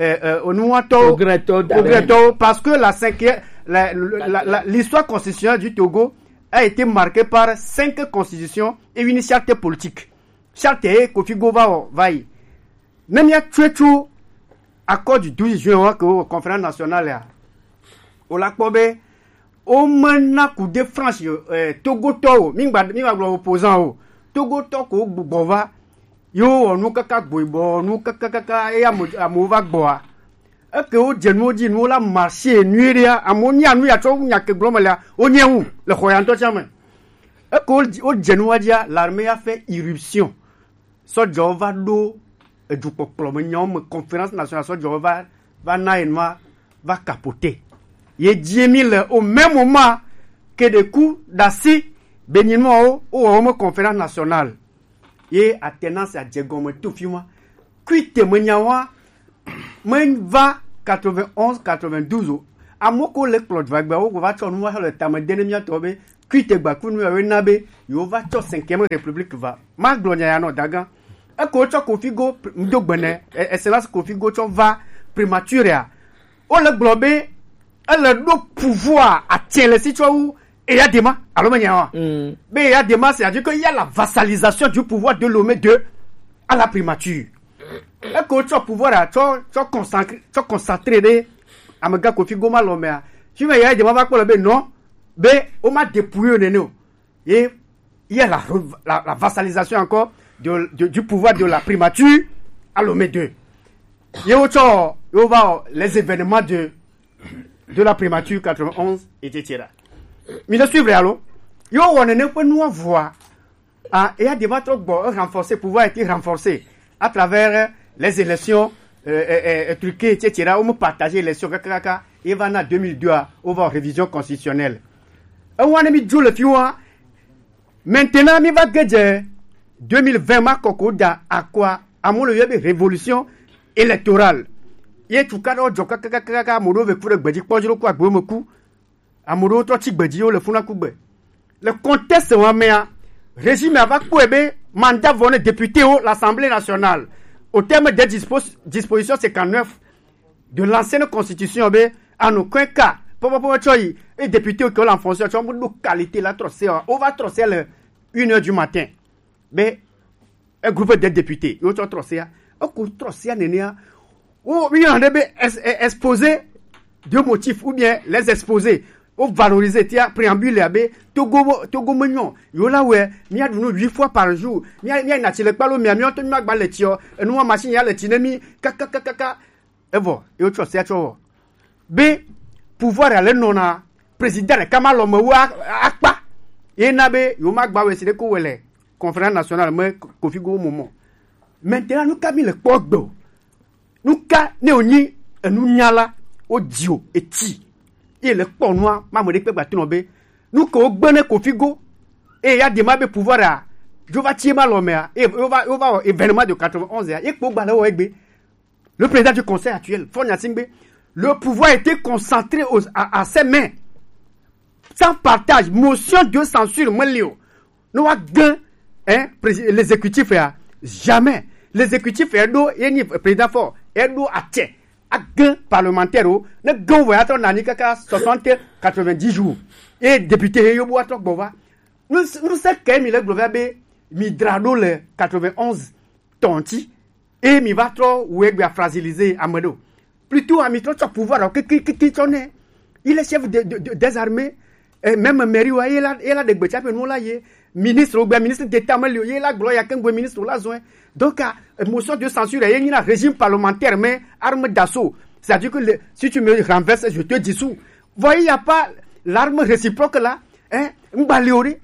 euh, euh, onuwatɔ Progrès tɔwo da ɖe. Progrès tɔwo parce que la cinquième la- la- la- l'histoire constitutionnelle du Togo a été marquée par cinq constitutions et une charte politique. Charte ye Kofi Gova wɔ va yi. Ne mia tsoe tso accord du douze juin wa ke wɔ conférence nationale ya o la kpɔ be o me na coup de France eh, Togotɔ o mi gba mi gba gblɔ opposant o Togotɔ ko gbugbɔ va yo wɔ nu kaka gboibɔ nu kaka kaka eya amewo va gbɔa eke wo dze nuwo dzi nuwo la marché nyuie ɖea amewo nya nu ya tsɔ nya ke gblɔ me lea wo nye ŋu le xɔ ya ŋutɔ tsã me eke wo dze- wo dze nuwa dzia l'armée ya fait irruption sɔdzɔwo va ɖo edukpɔkplɔ me nyawo me conférence nationale sɔdzɔwo va va na ye nua va capoter Ye dzi mi le au même moment que des coups d'assis béninois wo, wo wɔ wo me conférence nationale. Ye alternance a dze gɔme to fi ma. Kuite me nya wa, me va quatre-vingt-onze, quatre-vingt-douze o. Amewo ko le kplɔ va gbe, wo va tsɔ nu va le tame de ne mía tɔ be kuite gba ku nu ya wo na be yo va tsɔ cinquième république va. Ma gblɔ nya ya nɔ dagan. Eko tsɔ Kofi Go, pr-, ŋdo gbene, e-, excellence Kofi Go tsɔ va primature ya. Wo le gblɔ be ele ɖo pouvoir atsɛ le si tsɔ wu Eyadema, alo me nya wa. Mm. Be Eyadema, c'est-à-dire que il y a la vassalisation du pouvoir de Lomé deux à la primature. Eko tsɔ pouvoir a, tsɔ, tsɔ consacré, tsɔ concentré ɖe amega Kofi Go ma lɔ mea. Fi me Eyadema va kpɔ le be non, be wo ma dépouiller nene o. Et il y a la, re-, la, la vassalisation encore de, de, du pouvoir de la primature à Lomé deux. Ye wo tsɔ, yo va, les événements de, de la primature quatre-vingt-onze, et cetera. Mi le suivre alo? Yo wɔ nene ƒe nua vɔa. Ah, Eyadema trɔ gbɔ, e renforcer, pouvoir a été renforcé à travers les élections, euh, euh, euh, truquées, et cetera. Wo me partager élection, kaka, kaka. Ye va na deux mille deux a, wo va révision constitutionnelle. E wa ne mi dzo le fi wa. Maintenant, mi va ge dze deux mille vingt ma kɔkɔ da akɔa, amewo le yɔ be révolution électorale. Ye tukaɖawo dzɔ kakakaka, ame ɖewo ve ku ɖe gbedzi kpɔ dzro ku agbewo me ku. Ame ɖewo trɔ tsi gbedzi wo le funa ku gbe. Le contexte wa mea, régime a va kpɔe be mandat vɔ ne député wo l'Assemblée nationale. Au terme des dispos-, dispositions cinquante-neuf de l'ancienne constitution be anu kɔe ka pɔpɔpɔ tsɔ yi e député ke la fonction tsɔ mu do qualité la trɔ se o, o va trɔ se le une heure du matin. Be e groupe de députés yo tsɔ trɔ se a, e ko trɔ se a nene a. O mi yɔ ɖe be ex-, e-, exposé de motif ou bien les exposés, o valoriser tia préambule a be Togo, Togo me nyɔ, yo la wɛ, mi a ɖu nu huit fois par jour, mi a, mi a na tsi le kpalo mia, mi a to mi ma gba le tsi o, enu wa machine ya le tsi ne mi, kakakakaka. Evɔ, ye wotsɔ sea tsɔ wɔ. Be pouvoir ale nɔna président ɖeka ma lɔ me wu a-, akpa. Ye na be yewo ma gba wɛ si ɖe ko wɛ le conférence nationale me Kofi Go mo mo. Maintenant, nu ka mi le kpɔ gbe o? Nu ka ne wonyi enunyala wo dzi o eti? Ye le kpɔ nua, ma me ɖe kpe gba tɔnɔ be nu ke wo gbe ne Kofi Go. Eye ya de ma be pouvoir a, dzo va tsi ma lɔ mea, eye wo va, wo va wɔ événement de quatre-vingt-onze ya, ye kpo gba le wɔ egbe. Le président du conseil actuel, Faure Gnassingbé, le pouvoir était concentré aux, à, à ses mains. Sans partage, motion de censure, mwen li o. Ne wa gen, hein, prési-, l'exécutif ya, jamais. L'exécutif ya do, ye ni président Faure, ya do atse. A gen parlementaire o, ne gen voya trɔ nani kaka soixante, quatre-vingt-dix jours. Et député, ye yo bo atrɔ gbɔ va. Nous, nous, c'est que mi le gblɔ va be, mi dra do le quatre-vingt-onze tɔnti. Eye mi va trɔ wɔ egbea fragiliser ame ɖe o. Plutôt, a mi trɔ tsɔ pouvoir ɔ kiki, kiki tsɔ nɛ. Il est chef de, de, de, des armées. Eh, même mairie wa, ye la, ye la ɖe gbe tsa ƒe nu la ye. Ministre, ou bien ministre d'État, me li o, ye la gblɔ ya kengbe ministre la zɔn. Donc, ah, motion de censure, ye nyina régime parlementaire, mais arme d'assaut. C'est-à-dire que le, si tu me renverses, je te dissous. Vous voyez, il y a pas l'arme réciproque là. Hein? Mgbali o ɖe.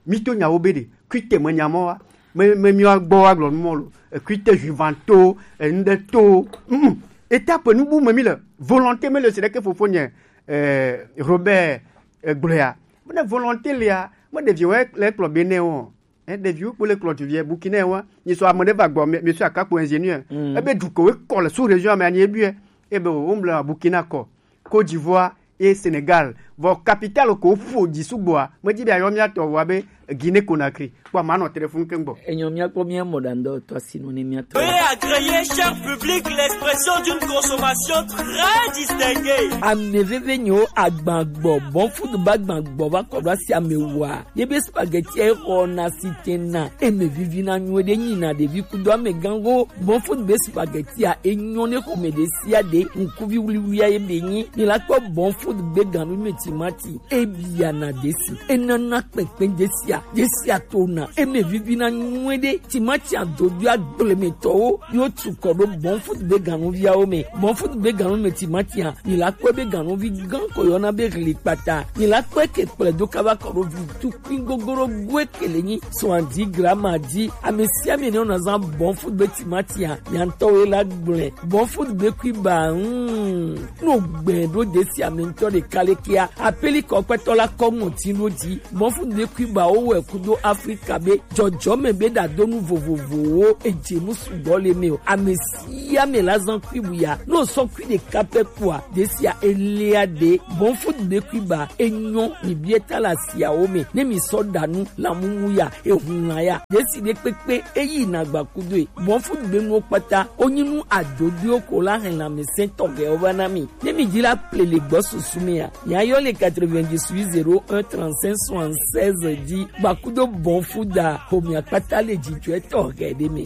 Mi to nyawo be ɖe, kuite me nya mɔ wa, me, me mi wa gbɔ wa gblɔ nu mɔ lo, e kuite juivanto, e ŋɖe to, mm, étape nu bu me mi le, volonté me le se ɖeke fofo nye, eh, Robert, eh, gblɔ ya. Be ne volonté lia, me ɖevi wɛ le kplɔ be ne o. Eh, ɖeviwo kpo le kplɔ ɖevia, Burkina wa, nyi sɔ ame ɖe va gbɔ, mi, mi sɔ akakpo ingénieur. Mm. Ebe du ko we kɔ le sous région ame anyi ebi e, ebe wo mble Burkina kɔ. Côte d'Ivoire et Sénégal. Vɔ capitale ko ƒo dzi sugbɔa, medzi be ayɔ mía tɔ vɔa be Guinée Conakry. Kpɔ ma nɔ téléphone ke gbɔ. Enyo mía kpɔ mía mɔ ɖa ŋdɔ tɔ asi nu ne mía tɔ. Veuillez agréer, cher public, l'expression d'une consommation très distinguée. Ame veve nyo agbagbɔ, bon food ba agbagbɔ va kɔ ɖo asi ame wa. Ye be spaghetti e xɔ na si te na. Eme vivi na nyo ɖe nyi na ɖevi kudo ame gango. Bon food be spaghetti a enyo ne xɔme ɖe sia ɖe, ŋkuvi wuliwulia ye be nyi. Mi la kpɔ Bon Food gbe ganu me ti Timati, e biana desi, e nana kpɛnkpɛn desia, desia to na, e mɛ vivi na nyuie ɖe. Timati adodui agblemetɔwo yo tu kɔ ɖo Bon Food be ganuviawo mɛ. Bon Food be ganu mɛ timati a, mi la kpɔe be ganuvi gan ko yɔna be hli kpata. Mi la kpɔe ke kplɛ do kaba kɔ ɖo vi tukui gogoro goe ke le nyi soixante-dix grammes a di. Ame sia ame ne wona zan Bon Food be timati a, nya ŋutɔ wo la gblɔe. Bon Food be kui ba, hmm. No gbɛ ɖo desi ame ŋutɔ ɖeka le kia. Apeli kɔ kpɛtɔ la kɔ ŋɔti ɖo di. Bon Food be kui ba wo wɛ kudo Afrika be jɔjɔme be ɖadonu vovovowo edze nu sugbɔ le me o. Ame sia ame la zan kui bu ya. No sɔ kui ɖeka pɛ kua, desia elia de. Bon Food be kui ba enyɔ mi bie ta la siawo me. Ne mi sɔ ɖa nu la mumu ya, ehun la ya. Desi ɖe kpekpe eyi na gba kudo e. Bon Food be nuwo kpata, onyi nu adodoewo ko la hɛn lãmesẽ tɔxɛwo va na mi. Ne mi di la ple le gbɔ susu me ya, mia yɔ le quatre-vingt-dix-huit zéro un trente-cinq soixante-seize di. Gba kudo Bon Food a, ho mia kpata le dzidzɔe tɔxɛ ɖe me.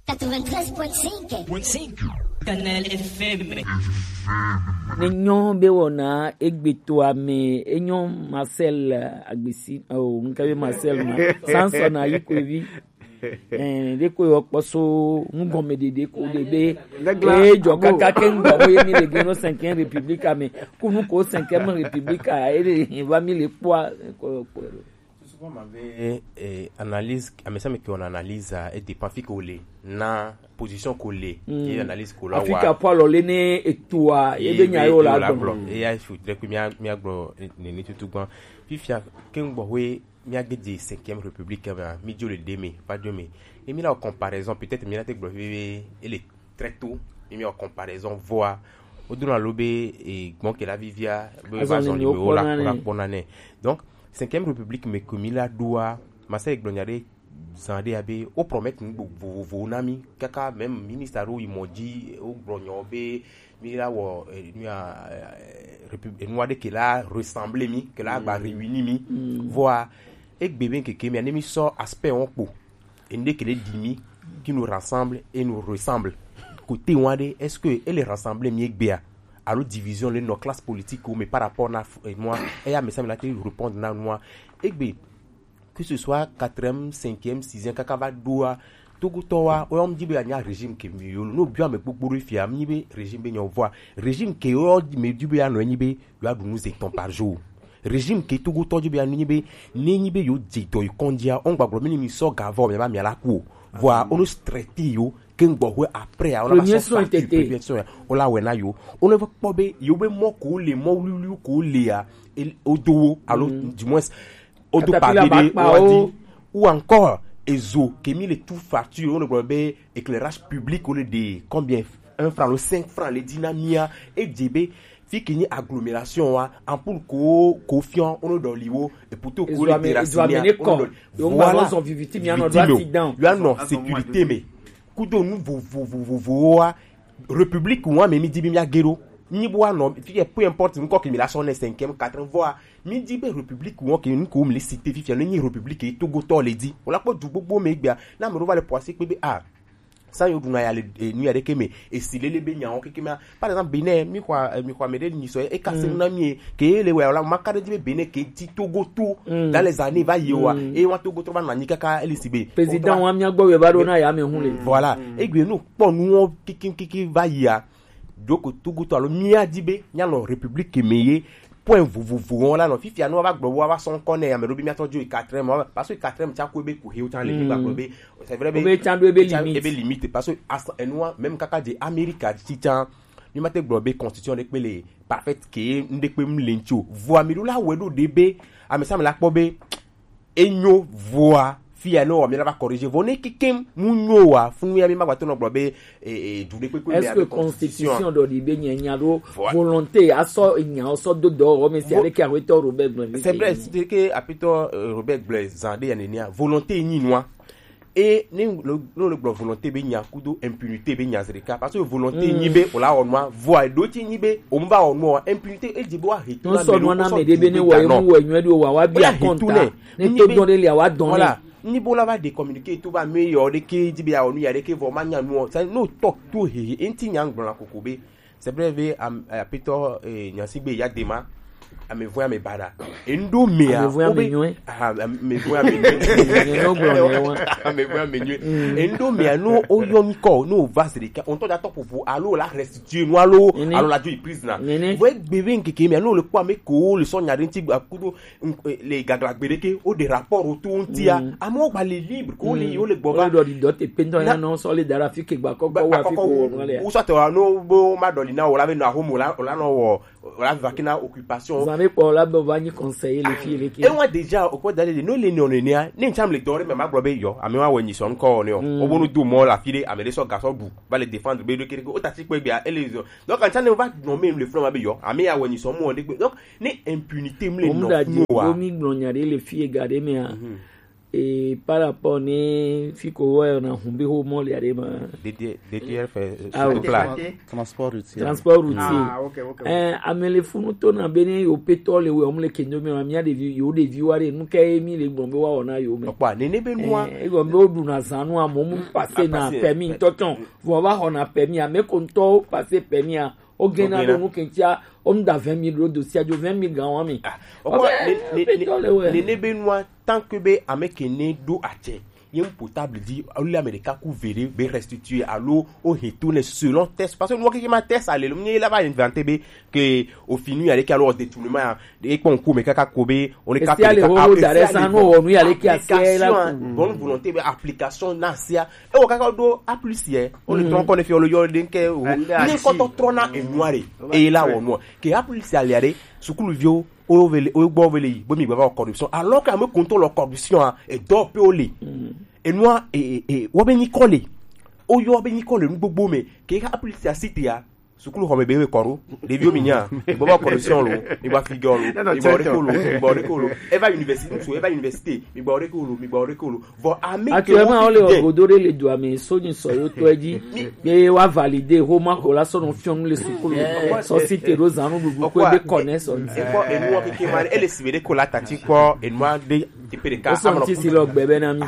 Quatre-vingt-treize point cinq. Kanal F M. Ne nyɔ be wɔna egbe to ame, enyo Marcel Agbesi, oh, nke be Marcel ma. Samson Ayikoevi. Eh, de ko yo kpɔso nugɔme ɖeɖe ko ɖe be. E jɔ kaka ke ŋgɔ ko ye mi le geno cinquième république ame. Kunu ko cinquième république a, e le va mi le kpɔa, ko yo kpɔ. Souvent, m'avait, eh, analyse, ame sia ame ke wɔna analyse a, e dépend fi ke wole, na position ke wole, ye analyse ke wole wa. Afi ke apɔ alɔ le ne etoa, ye be nya ye wole agblɔ. Ye ya fu tre kui mia, mia gblɔ, eh, nene tutu gbã. Fifia, ke ŋgbɔ hoe mia ge dze cinquième république mea, mi dzo le ɖe me, va dzo me. Ne mi la wɔ comparaison, peut-être mi la te gblɔ fi be, ele très tôt, mi mi wɔ comparaison, vɔa, wodona lo be, eh, gbɔn ke la vivia, be va zɔn le me wo la kpɔna nɛ. Donc, cinquième république me ke mi la ɖoa, masa gblɔ nya ɖe zan ɖe ya be, wo promettre nu vovovowo na mi, kaka même ministre aɖewo yi mɔ dzi, wo gblɔ nyɔ be, mi la wɔ, eh, nu ya, eh, répu-, eh, nu aɖe ke la ressembler mi, ke la gba réunir mi. Vɔa, egbe be keke mia, ne mi sɔ aspect wɔn kpo. Ende ke le ɖi mi, qui nous rassemble et nous ressemble. Côté wɔn aɖe, est-ce que ele rassembler mi egbea? Alo division le nɔ classe politique wo me par rapport na f-, eh, nua, eya me sa mi la te répondre na nua. Egbe, que ce soit quatrième, cinquième, sixième, kaka va ɖoa, Togotɔwa, wo yɔ mi di be anya régime ke mi yo, no bia me gbogbo ɖe fia, mi be régime be nyɔ vɔa, régime ke yo mi di be anɔ nyi be, yo aɖu nu zetɔn par jour. Régime ke Togotɔ di be anu nyi be, ne nyi be yo dze dɔ yi kɔndzia, on gbagblɔ mi ni mi sɔ ga vɔ, mi ba mi ala ku o. Vɔa, on traité yo, ke ŋgbɔ hwe après, on va sɔ sortir première soin, on la wɛ na yo. On va kpɔ be, yo be mɔ ko le, mɔ wuliwuli ko le ya, o do wo, alo, du moins, o do page de, o di, ou encore, ezo, ke mi le tout facture, on le be éclairage public, o le de, combien, un franc, le cinq francs, le dina mia, e dze be, fi ke nyi agglomération wa, ampoule ko, ko fian, on le dɔ li wo, et pourtant, ko le terrasse mia, on le dɔ li. Voilà. Yo anɔ sécurité me. Kudo nu vovovovovowo wa, république wa me mi di bi mi age ɖo. Nyi bo anɔ, fi ke peu importe, nkɔ ke mi la sɔ ne cinquième, quatrième, vɔa, mi di be république wa ke nu ko mi le cité fifia, ne nyi république e Togotɔ le di. O la kpɔ du gbogbo me gbea, na me ɖo va le poise kpe be, ah, sa yo ɖuna ya le, eh, nu ya ɖe ke me, esi lele be nyawo keke mea. Par exemple, Bénin, mi xɔ, eh, mi xɔ ame ɖe nyi sɔ, e ka se nu na mi e, ke le wɛ, la, ma ka ɖe di be Bénin ke ti Togo to, dans les années va yi wa, e wa Togo to va nɔ anyi kaka, eli si be. Président wa mia gbɔ wɛ va ɖo na ya me hu le. Voilà. Egbe nu kpɔ nuwo kiki kiki va yi a. Ɖo ko Togo to alo mia di be, mia nɔ république me ye, point vovovo wɔn la nɔ. Fifia ne wa va gblɔ, wa va sɔ ŋkɔ nɛ, ame ɖo bi mia tɔ dzo yi quatrième, wa va, parce que quatrième tsa ko be ku he wo tsa le, mi gba gblɔ be, c'est vrai be, o be tsa ɖo ebe limite. Ebe limite, parce que as-, enua, même kaka dze Amérique tsi tsa, mi ma te gblɔ be constitution ɖe kpe le parfaite ke ŋɖe kpe mu le ŋtsi o. Vɔa mi ɖo la wɛ ɖo ɖe be, ame sa ame la kpɔ be, enyo vɔa, fia ne wɔ mi la va corriger. Vɔ ne kekem mu nyo wa, funu ya mi ma gba to nɔ gblɔ be, e, e, du ɖe kpekpe. Est-ce que constitution ɖɔ ɖi be nya, nya ɖo volonté, asɔ nya, asɔ do dɔ, o me si avec arrêteur Robert Gblin. C'est vrai, c'est que apitɔ, euh, Robert Gblin, zan ɖe ya nenia, volonté nyi nua. E, ne lo, lo, le gblɔ volonté be nya kudo impunité be nya zreka. Parce que volonté nyi be, o la wɔ nua, vɔa, ɖo ti nyi be, o mba wɔ nua, impunité, e dzi be wa he to na me ɖo, na me ɖe be ne wɔ enu wɔ nyuie ɖo wa, wa bi a compte. Ne to dɔn ɖe lia, wa dɔn. Voilà. Ni bo la va de communiqué to va me yo de ke di be ya onu ya de ke vo ma nya nu o. Sa no to to he he enti nya ngblɔ la koko be. C'est vrai ve am apetɔ eh, nyasigbe ya de ma. Ame vɔn ame bada. Endo me a. Ame vɔn ame nyɔe. Ah, ame vɔn ame nyɔe. Ame vɔn ame nyɔe. Endo me a no o yo ni ko no va se de ka. On to da to popo alo la restituer no alo alo la du prise na. Vo gbe ve nkeke me a no le kwa me ko le so nya de nti akudo le gagla gbede ke o de rapport o to ntia. Amo gba le libre ko le yo le gbo ba. O do di do te pento ya no so le dara fi ke gba ko gba wa fi ko no le. O so to no bo ma do li na o la ve no a homo la o la no wo o la va kina occupation. Zan be kpɔ la be o va nyi conseiller le fi le ke. E wa déjà o ko dale de no le no ne a ne ncham le dore me ma gbo be yo ame wa we nyi so nko ne o. O bo no du mo la fi de ame de so ga so bu ba le défendre be de kere o ta ti pe gbe a ele zo. Donc quand ça ne va nommer le front ma be yo ame ya we nyi so mo de gbe. Donc ni impunité mle no funu wa. Omi gblɔ nya ɖe le fi ega ɖe mea. Et par rapport ne fi ko wa yɔna hun be ho mɔ le aɖe ma. Détier fait sur place. Transport routier. Transport routier. Ah, ok, ok. Eh, ame le funu to na be ne yo petɔ le we omle kendo me ma mia ɖevi yo ɖevi wa ɖe nu ke mi le gbɔn be wa wɔna yo me. Kpa nene be nua. Eh, e gbɔn be o ɖu na zanu amomu passer na permis tɔtɔn. Vɔ va xɔna permis ame ko ŋutɔ passer permis a. Ogena ɖo nu ke ŋutia, wonu da vingt mille ɖo dosia dzo vingt mille gan wa mi. Nene be nua tant que be ame ke ne ɖo atsɛ ye mu potable di alo ame ɖeka ku ve ɖe be restituer alo o he to ne selon test parce que nua keke ma test ale lo mi la va inventer be ke o finu ya ɖe ke alo détournement ya ɖe kpɔ ŋku me kaka ko be o ne ka esi ale wo da ɖe san no wɔ nu ya ɖe ke asia la bonne volonté be application na sia e wo kaka ɖo application o le tɔn kɔ ne fi o le yɔ ɖe ke o ne kɔtɔ trɔ na enua ɖe eye la wɔ nua ke application alia ɖe sukuluviwo o vele o gbɔ vele yi bo mi gbava corruption alors que ame kuntɔ lɔ corruption a edɔ pe o le enua e e wɔ be nyikɔ le o yɔ be nyikɔ le nu gbogbo me ke application site ya sukulu xɔme be we kɔru ɖeviwo mi nya mi gbava corruption lo mi gba figure lo mi gba ɔɖe ko lo mi gba ɔɖe ko lo eva université ŋutsu eva université mi gba ɔɖe ko lo mi gba ɔɖe ko lo vɔ ame ke actuellement wo le wɔ godo ɖe le dua me so ni sɔ yo tɔ edzi be wa valider ho ma ko la sɔ no fiɔnu le sukulu sɔ si te ɖo zanu ɖuɖu ko be kɔnɛ sɔ ni. Ekpɔ enua keke ma ele si be ɖe ko la tati kpɔ enua ɖe teƒe ɖeka. Esɔ ŋuti si lɔ gbe be na mi.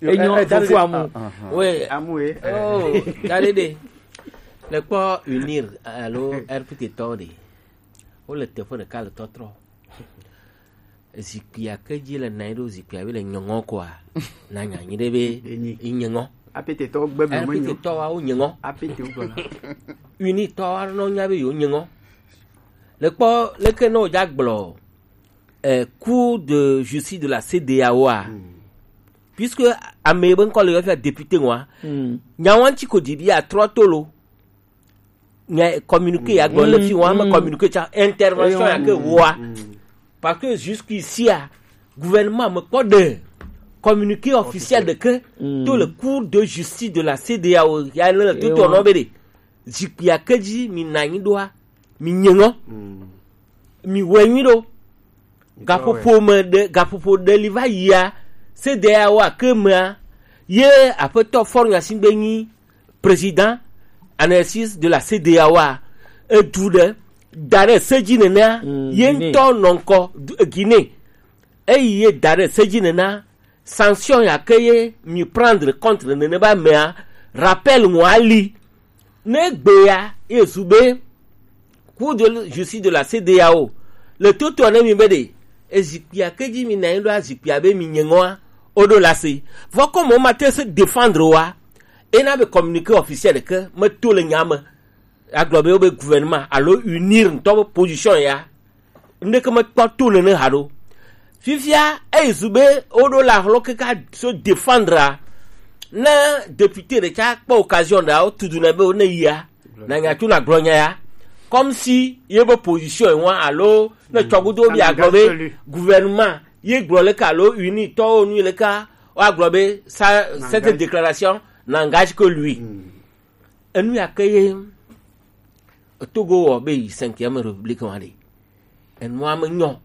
Enyo fofo amu. We amu e. Oh, kare ɖe. Le kpɔ unir alo R P T tɔ ɖe. Wo le teƒe ɖeka le tɔtrɔ. Zikpuia ke dzi le nɔ anyi ɖo zikpuia be le nyɔŋɔ koa na nya anyi ɖe be yi nyɔŋɔ. Apetetɔwo gbe me me nyɔ. Apetetɔwo awo nyɔŋɔ. Apetewo gblɔ na. Unitɔwo anɔ nya be yewo nyɔŋɔ. Le kpɔ leke ne wodza gblɔ eh, Cour de justice de la C D A O a. Puisque ame be ŋkɔ le yɔ fia député ŋua. Nya ŋua ŋuti ko dzi bi atrɔ to lo. Nya communiqué ya gblɔ le fi ŋua me communiqué tsa intervention ya ke ŋua. Parce que jusqu'ici a gouvernement me kpɔ de communiqué officiel de ke to le Cour de justice de la C D A O ya le to to no be de. Zikpuia ke dzi mi na anyi ɖoa mi nye ŋɔ. Mi wɛ nyui ɖo. Gaƒoƒo me ɖe gaƒoƒo ɖe li va yia C D A O a ke mea ye aƒetɔ Faure Gnassingbé nyi président en exercice de la C D A O a edu ɖe da ɖe se dzi nenea ye ŋutɔ nɔ ŋkɔ Guinée eyi ye da ɖe se dzi nenea sanction ya ke ye mi prendre contre nene ba mea rappel ŋua li ne gbe ya ye zu be Cour de justice de la C D A O le toto ne mi be de ezikpuia ke dzi mi na anyi ɖo azikpuia be mi nye ŋɔa o ɖo la se vɔ ko mo ma te se défendre wa ena be communiqué officiel ke me to le nya me agblɔ be wo be gouvernement alo unir ŋutɔ be position ya ŋɖeke mekpɔ to nene haɖo. Fifia eyi zu be woɖo le axlɔ keke so défendre a ne député ɖeka kpɔ occasion ɖe awo tudu ne be wo ne yia na nya tso na gblɔ nya ya comme si ye be position yi wa alo ne tsɔgudo bi agblɔ be gouvernement ye gblɔ leke alo uni tɔwo nu leke wa gblɔ be ça cette déclaration n'engage que lui. Enu ya ke ye Togo wɔ be yi cinquième république wa ɖe enua me nyɔ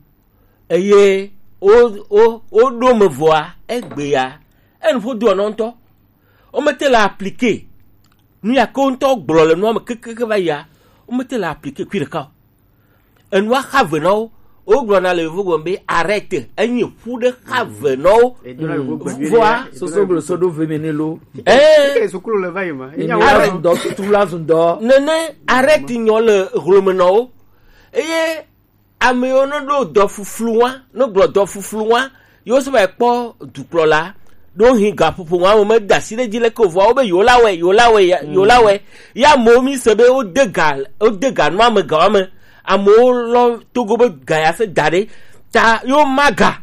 eye wo wo wo ɖo me vɔa egbe ya enu ƒo do ɔnɔ ŋutɔ wo mete le appliquer nu ya ke wo ŋutɔ gblɔ le nua me kekeke va yia wo mete le appliquer kui ɖeka o enua xa ve na wo Wogblɔna le yovogbe be arrête, enyi ƒu ɖe xa ve nɔwo. Vɔa, soso gblɔ so ɖo ve me ne lo. Ee, sukulu le va yi ma. Enya wo. Arrête. Zun dɔ, tutu la zun dɔ. Nene arrête nyɔ le hlome nɔwo. Eye ame yiwo ne ɖo dɔ fuflu wa, ne gblɔ dɔ fuflu wa, yewo sɔ va kpɔ dukplɔla ɖo hin gaƒoƒo wa me, me da asi ɖe dzi leke o, vɔa wo be yewo la wɛ, yewo la wɛ, ya, yewo la wɛ. Ya amewo mi se be wo de ga, wo de ga nua me, ga wa me. Amewo lɔ Togo be ga ya se da ɖe ta yo ma ga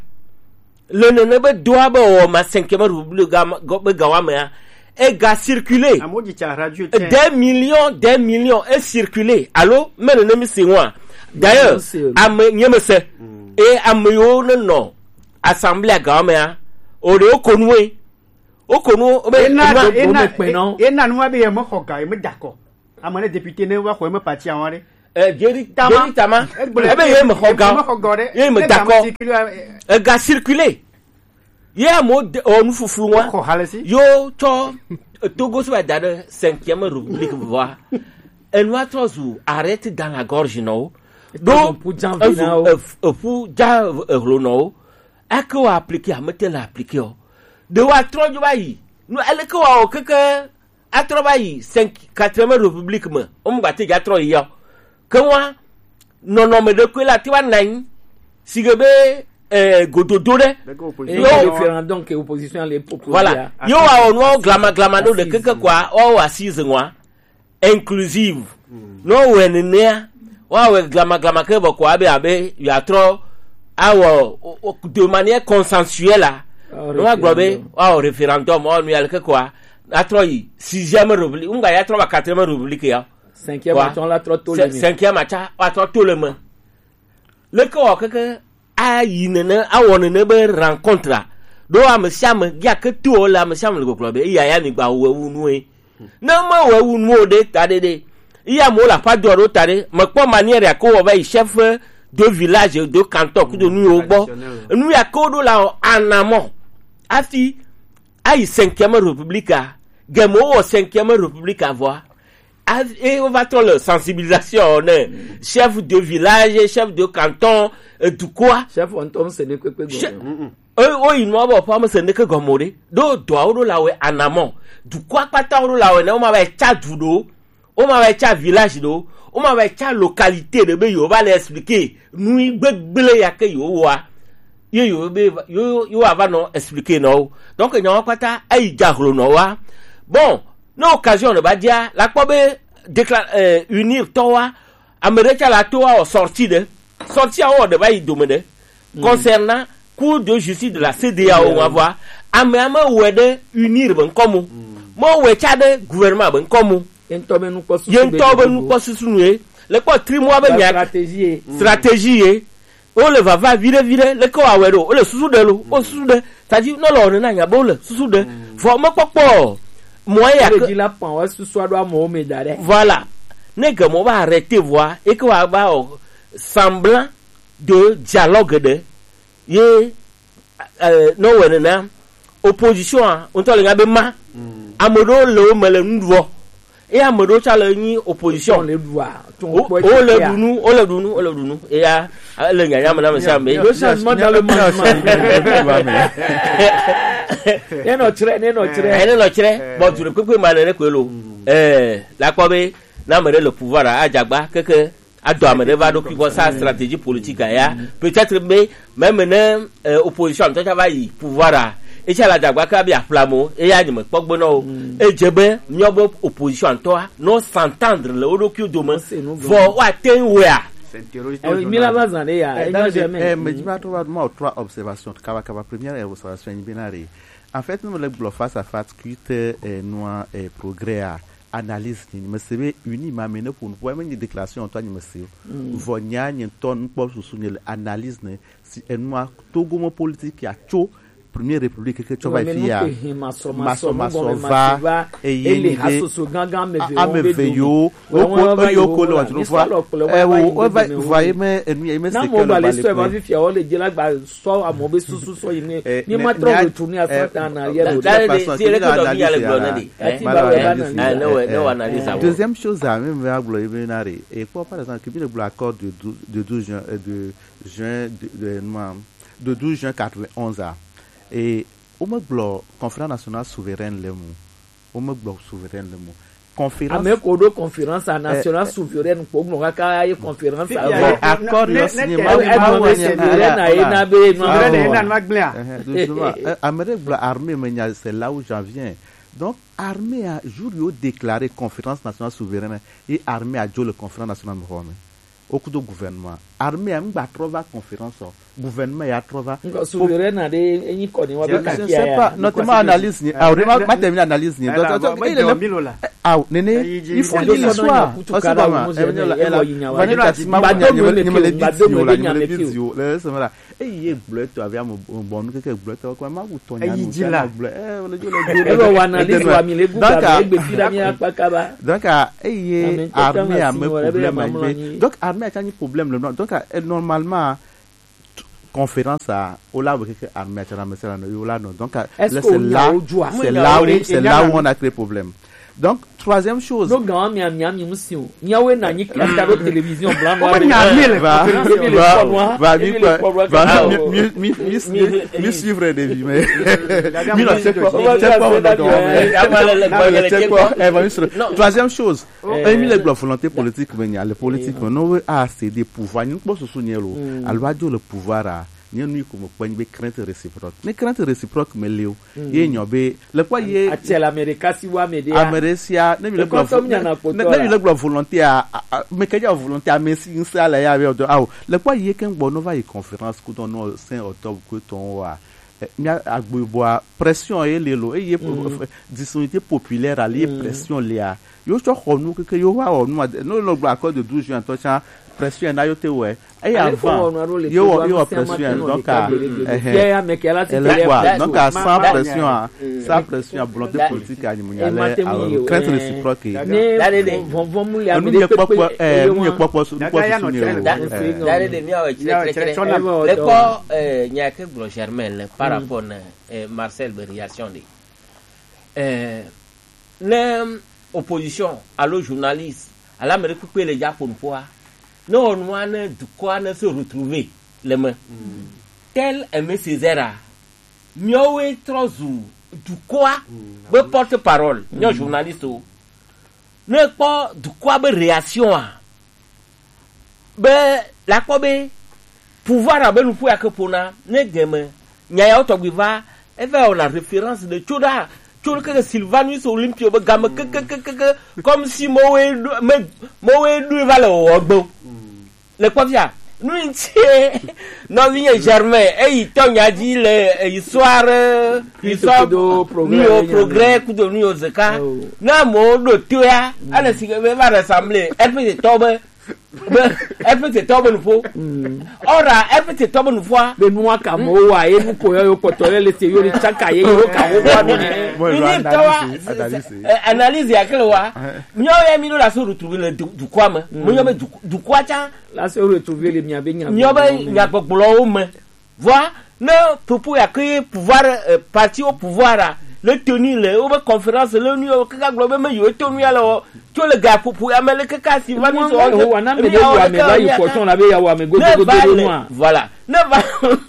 le nene be doa be wɔ ma cinquième république ga ma, be ga wa mea, e ga circuler. Amewo dzi tsa radio tse. Des millions, des millions e circuler. Alo me nene mi se wa. D'ailleurs, ame nye me se. E ame yo ne nɔ assemblée ga wa mea, o de o konu e. O konu o be. Ena, ena, ena nua be ye me xɔ ga, ye me dakɔ. Ame ne député ne va xɔ eme parti awon ɖe. Eh, Jerry Tama. Jerry Tama. Egblɔe. Ebe ye me xɔ ga. Ye me xɔ ga ɖe. Ye me dakɔ. Ega circuler. Ye amewo de, o, nu fuflu wa. Xɔ hale si. Yo tsɔ, eh, Togo sɔ da ɖe cinquième république vɔa. Enua trɔ zu arrête dans la gorge nɔwo. Ɖo eƒu dza ehlo nɔwo. Ake wa appliquer, amete le appliquer o. Ɖe wa trɔ dzo va yi. Nu eleke wa o keke atrɔ va yi cinq, quatrième république me, wo mu gba te dza trɔ yi ya o. Ke wa nɔnɔme ɖe koe la te va na anyi si ge be, eh, gododo ɖe. Yo, référendum ke opposition le proposer. Voilà. Yo wa o nua glama glama ɖo le keke kwa, wa o assise nua inclusive. No wɛ nenea, wa wɛ glama glama ke bɔ kwa be abe ya trɔ awɔ o, o, de manière consensuelle la. No wa gblɔ be wa o référendum, wa nu ya le ke kwa atrɔ yi sixième république, ŋgba ya trɔ va quatrième république ya. Cinquième atɔ la trɔ to le me. Cinquième atsa wa trɔ to le me. Leke wɔ keke ayi nene, awɔ nene be rencontre a. Ɖo ame sia ame, ya ke to le ame sia ame le gbɔgblɔ be eya ya mi gba wɔ wu nue. Ne me wɔ wu nuwo ɖe ta ɖe ɖe, iya mo la pa do ɖo ta ɖe, me kpɔ manière ya ko wɔ va yi chef de village, de canton, kudo nu yo gbɔ. Nu ya ko ɖo la o anamɔ. Afi ayi cinquième république a, gemo wɔ cinquième république a vɔa. A, e, wo va trɔ le sensibilisation ne chef de village, chef de canton, e, dukɔa. Chef ŋutɔ ŋse ne kpekpe gɔme. E, wo yi nua bɔ ƒe ame se ne ke gɔme o ɖe. Ɖo dɔa wo ɖo la wɛ anamɔ. Dukɔa kpata wo ɖo la wɛ ne wo ma va tsa du ɖo. Wo ma va tsa village ɖo. Wo ma va tsa localité ɖe be yo va le expliquer nu yi gbegble ya ke yo wa. Ye yo be yo, yo ava nɔ expliquer nɔ wo. Donc nyawo kpata eyi dza hlo nɔ wa. Bon, ne occasion ne ba dia, la kpɔ be décla-, euh, unir tɔ wa, ame ɖe tsa la to wa o sortie ɖe. Sortie a wɔ ɖe va yi dome ɖe. Concernant Cour de justice de la C D A O wa vɔa, ame ame wɛ ɖe unir be ŋkɔ mo. Mo wɛ tsa ɖe gouvernement be ŋkɔ mo. Ye ŋutɔ be nukpɔ susu. Ye ŋutɔ be nukpɔ susu nu ye. Le kpɔ trimoa be nya stratégie ye. Stratégie ye. Wo le vava viɖe viɖe, leke wa wɛ ɖo, wo le susu ɖe lo, wo susu ɖe. C'est-à-dire, ne le wɔna na nya be wo le susu ɖe. Vɔ me kpɔkpɔ o. Mɔ ya ke. Dzi la pɔn, wo susu aɖo amewo me da ɖe. Voilà. Ne ge mo va arrêter vɔa, et que wa va o semblant de dialogue ɖe, ye, euh, ne wɔe nena, opposition a, ŋutɔ le nya be ma. Ame ɖewo le wo me le nu ɖuɔ. Eye ame ɖewo tsã le nyi opposition. Wo, wo le ɖu nu, wo le ɖu nu, wo le ɖu nu. Eya, ele nyanya me na ame sia ame. Il y a changement dans le mouvement. Ne nɔ tsrɛ, ne nɔ tsrɛ. Eh, ne nɔ tsrɛ. Bon, du ɖe kpekpe ma nene koe lo. Eh, la kpɔ be, na ame ɖe le pouvoir a, adzagba, keke, adɔ ame ɖe va ɖokui gbɔ sa stratégie politique a ya. Peut-être be, même ne, euh, opposition ŋutɔ tsa va yi pouvoir a, etsa la dagba ke abi aƒlamo, eya nye me kpɔ gbe nɔ o. Edze be, míawo be opposition ŋutɔa, no s'entendre le wo ɖokuiwo dome, vɔ woate ŋu wɔea. Mi la va zã ɖe ya, eh, enyo jamais. Eh, me dzi ma trɔ va ma o trois observations, kaba kaba, première observation, nyi bena re. En fait, ne me le gblɔ face à face, quitte, eh, nua, eh, progrès a, analyse ni, me se be uni ma me ne ƒo nu, ƒo me nyi déclaration ŋutɔ nyi me se o. Vɔ nya nye ŋutɔ nukpɔ susu nye le analyse ne, si enua Togo me politique ya tso Première République ke tsɔ va fi ya. Masɔ masɔ va eye ni be ame eve yo woko eye woko le wa tunu fua. Ewo eva va ye me enu ye me se ke le ba le pe. Sɔ amewo be susu sɔ yi ne. Eh, mi ma trɔ retourner à cent ans en arrière. Dale de si ele ke dɔ mi ya le gblɔ ne de. Ati ba wɛ ba analyse. Eh, ne wɔ ne wɔ analyse awo. Deuxième chose a mi me agblɔ ye be na re. Et quoi, par exemple, que le gblɔ accord de douze, de douze juin, euh, de juin de, de, non, de douze juin quatre-vingt-onze a. Et wo me gblɔ conférence nationale souveraine le mu. Wo me gblɔ souveraine le mu. Conférence. Ame ko ɖo conférence nationale souveraine kpo gblɔ kaka ye conférence. Bon, accord yo signé ma ma ma souveraine a ye na be ma. Souveraine na ma gblea. Justement, ame ɖe gblɔ armée me nya, c'est là où j'en viens. Donc armée a jour yo déclaré conférence nationale souveraine et armée a dzo le conférence nationale me xɔ me. Wo kudo gouvernement. Armée a ŋgba trɔ va conférence o. Gouvernement ya trɔ va. Ŋgɔ souveraine na de enyi kɔ ni wa be kaki ya. Non, tellement analyse ni. Ah, ma termine analyse ni. Donc il est là. Ah, nene, il faut lire l'histoire. Parce que ma, elle va ne ta si ma nya me le video la, me le video. Le c'est vrai. Eye gblɔ etɔ avi ame bɔnu keke gblɔ etɔ kɔ ma wu tɔ nya nu kɔ gblɔ eh le jo le jo. Ebe wa analyse wa mi le gu ga egbe fi da mi akpa kaba. Donc eye armée a me problème a be donc armée a tsa ni problème le non donc eh, normalement conférence a o la keke armée a tsa na me sera no yo la no donc c'est là c'est là où c'est là où on a créé problème. Donc troisième chose. No gan mi ami ami musi o. Nyawe na nyi kata do télévision blanc noir. Omo nya mi le. Va va va mi quoi va mi mi mi mi mi suivre des vies mais mi la c'est quoi c'est quoi on a dans mais c'est quoi eh va mi sur. Troisième chose. Eh mi le gblɔ volonté politique mais nya le politique mais non a c'est des pouvoirs ni kpo susu ni lo. Alwa jo le pouvoir a. Nye nu yi ko me kpe nyi be crainte réciproque. Ne crainte réciproque me le o, ye nyɔ be le kpɔ ye ati la Amerika si wa me de ame ɖe sia ne mi le gblɔ ne mi le gblɔ volonté a me ke ja volonté a me si nsa le ya be do awo le kpɔ ye ke gbɔ no va yi conférence ku don no saint octobre ku ton wa mi agbo boa pression ye le lo eye disunité populaire ali pression le a yo tsɔ xɔ nu keke yo va xɔ nu no lo gblɔ accord de douze juin tɔ tsa pression na yo te wɛ. Et avant, yo yo pression donc à eh elle quoi donc à sans pression à sans pression à volonté politique à nimunya le crainte réciproque. Ne vɔnvɔn mu le ame ɖe kpekpe eye ŋu kpɔkpɔ su kpɔ su ne o. Dale de mi awo tsere tsere le kɔ nya ke gblɔ Germain le par rapport na Marcel be réaction de. Ne opposition alo journaliste alo ame ɖe kpekpe le dza ƒo nuƒoa ne wɔ nua ne dukɔa ne se retrouver le me tel Aimé Césaire a miawoe trɔ zu dukɔa be porte parole miawo journaliste wo ne kpɔ dukɔa be réaction a be la kpɔ be pouvoir abe nuƒo ya ke ƒona ne deme nya yawo tɔgbi va eva wɔna référence de tso ɖa tso ɖe keke Sylvanus Olympio be game kekekeke comme si mowe ɖo me mowe ɖo va le wɔwɔ gbe le kpɔ fia nu ŋuti nɔvinye Germain eyi tɔ nya dzi le histoire histoire nu yo progrès kudo nu yo zeka na mo ɖo to ya ale si be va ressemble R P G tɔ be be R P G tɔ be nuƒo ɔra R P G tɔ be nuƒoa be nua ka mo wa ye nu ko yo kpɔtɔ le le se yo ni tsaka ye yo ka wo wa no ne ni tɔ wa analyse ya kle wa nyo ye mi no la so retrouver le dukɔa me mo yo be dukɔa tsa la so retrouver le mia be nya mio be nya gbɔgblɔwo me Vɔa, ne propos ya ke ye pouvoir, euh, parti au pouvoir a, le tenir le wobe conférence le nu yawo kaka gblɔ be me yewo to nu ya le wɔ tso le gaƒoƒo ya me le kaka si va mi sɔ Yehowa na me ɖe wɔ ame va yi kpɔtɔ na be ya wɔ ame godo godo ɖo nua. Voilà. Ne va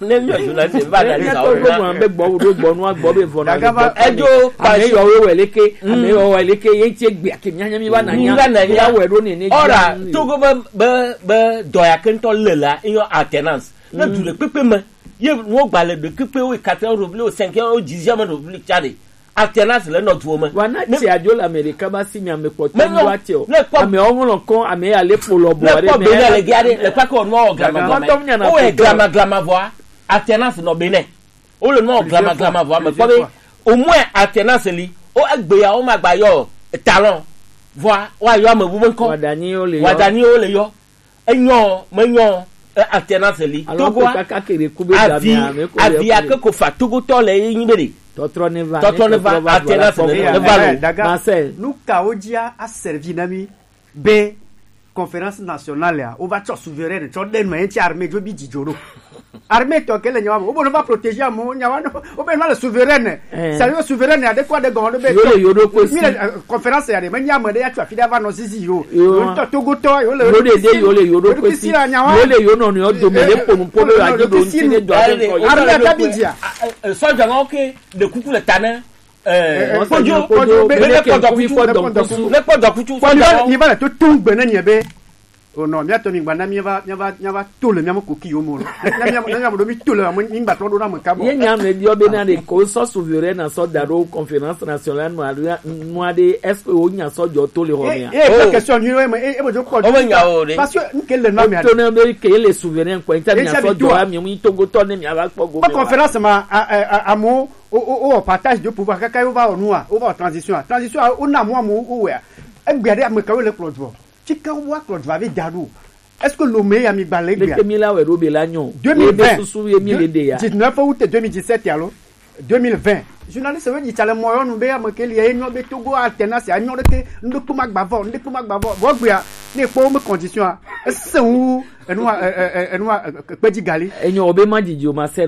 ne mi journaliste va da sa wɔ be gbɔ wo do gbɔ nua gbɔ be vɔ na be gbɔ. Edzo ame yɔ wo wɛ leke ame yɔ wɛ leke ye tse gbe ake nya nya mi va na nya mi va na nya wɛ ɖo nene. Ora togo be be be dɔ ya ke ŋutɔ le la eyɔ alternance. Ne du ɖekpekpe me ye nuwo gba le ɖekpekpe wo yi quatrième république wo cinquième wo dixième république tsa ɖe alternance le nɔ duwo me. Wa na tse adzo le Amerika ba si mi ame kpɔtɔ mi wa tse o. Ame wo ŋlɔ kɔ ame ya le kpo lɔ bɔ ɖe me. Bene le gea ɖe le kpakɔ nua wɔ glama glama wo wɔ glama glama vɔa alternance nɔ bene wo le nua wɔ glama glama vɔa me kpɔ be au moins alternance li wo egbe ya wo ma gba yɔ talon vɔa wa yɔ ame bu be ŋkɔ wadani wo le yɔ enyɔ menyɔ Eh, alternance li. Alors que Togoa, kaka kere kube avi, dame, ame ko avi ya ake ko fa Togotɔ le ye nyi be ɖe. Tɔtrɔ ne va, tɔtrɔ ne va, tɔtrɔ va, alternance ne va lo. Marcel. Nu kawo dzia a servi na mi be conférence nationale ya, wova tsɔ souverain tsɔ ɖe nu, enti armée dzo bi dzidzo ɖo. Armée tɔ ke le nyawa me, wobe ne va protéger amewo, nyawa no, wobe ne va le souverain. Eh. Ça veut souverain ya de quoi de gɔn de be. Yo le yo ɖo ko si. Mi le, euh, conférence ya de, me nya me de ya tsɔ afi de va nɔ zizi yo. Yo. Yo ŋutɔ Togotɔ, yo le yo ɖe de yo le yo ɖo ko si. Yo le yo nɔnɔewo, yo le yo nɔnɔewo dome le ponu ponu yo adi ɖo ŋuti ne dɔ aɖe ŋkɔ yo. Armée ya bi dzia. Sɔdza ŋɔ ke de kuku le ta ne. Eh, eh, Kojo, Kojo, be, be, be, kpɔ dɔkutu, kpɔ dɔkutu. Be kpɔ dɔkutu. Kpɔ mi va, mi va le to tun gbe ne nye be. O nɔ, mia tɔ mi gba na mi va, mi va, mi va to le mia mo koki yo mo lo. Na mi, na mi do mi to le mo mi gba tɔ do na mo ka bo. Ye nya me biɔ be na de ko sɔ souverain na sɔ da ɖo conférence nationale no aɖo no aɖe, est-ce que wo nya sɔ jɔ to le ho mia? Eh, eh, question ni we me, eh, eh, bo jo ko. O me nya o de. Parce que nke le na mi. To na be ke le souverain ko, nta mi sɔ jɔ a mi mi Togotɔ ne mi va kpɔ go. Conférence ma, a, a, a, amo o, o, o partage de pouvoir, kaka wo va o nua, wo va o transition a. Transition a, o na mo mo o wea. Egbe aɖe ame kawo le kplɔ dzɔ? Tsike wa kplɔ dzɔ ave da ɖo. Est-ce que Lomé ya mi gba le gbea? Leke mi la wɛ ɖo be la nyɔ? Deux mille vingt. Ye be susu ye mi le ɖe ya. Dix-neuf août deux mille dix-sept alo deux mille vingt. Journaliste we dzi tsa le mɔ yɔ nu be ame ke li ye nyɔ be Togo alternance a nyɔ ɖeke, ŋɖekpe ma gba vɔ, ŋɖekpe ma gba vɔ. Vɔ gbea, ne kpɔ wo me condition a, ese wu enu a, e, e, e, enu a, e, e, kpedzi gali. Enyo wo be ma dzidzi o ma se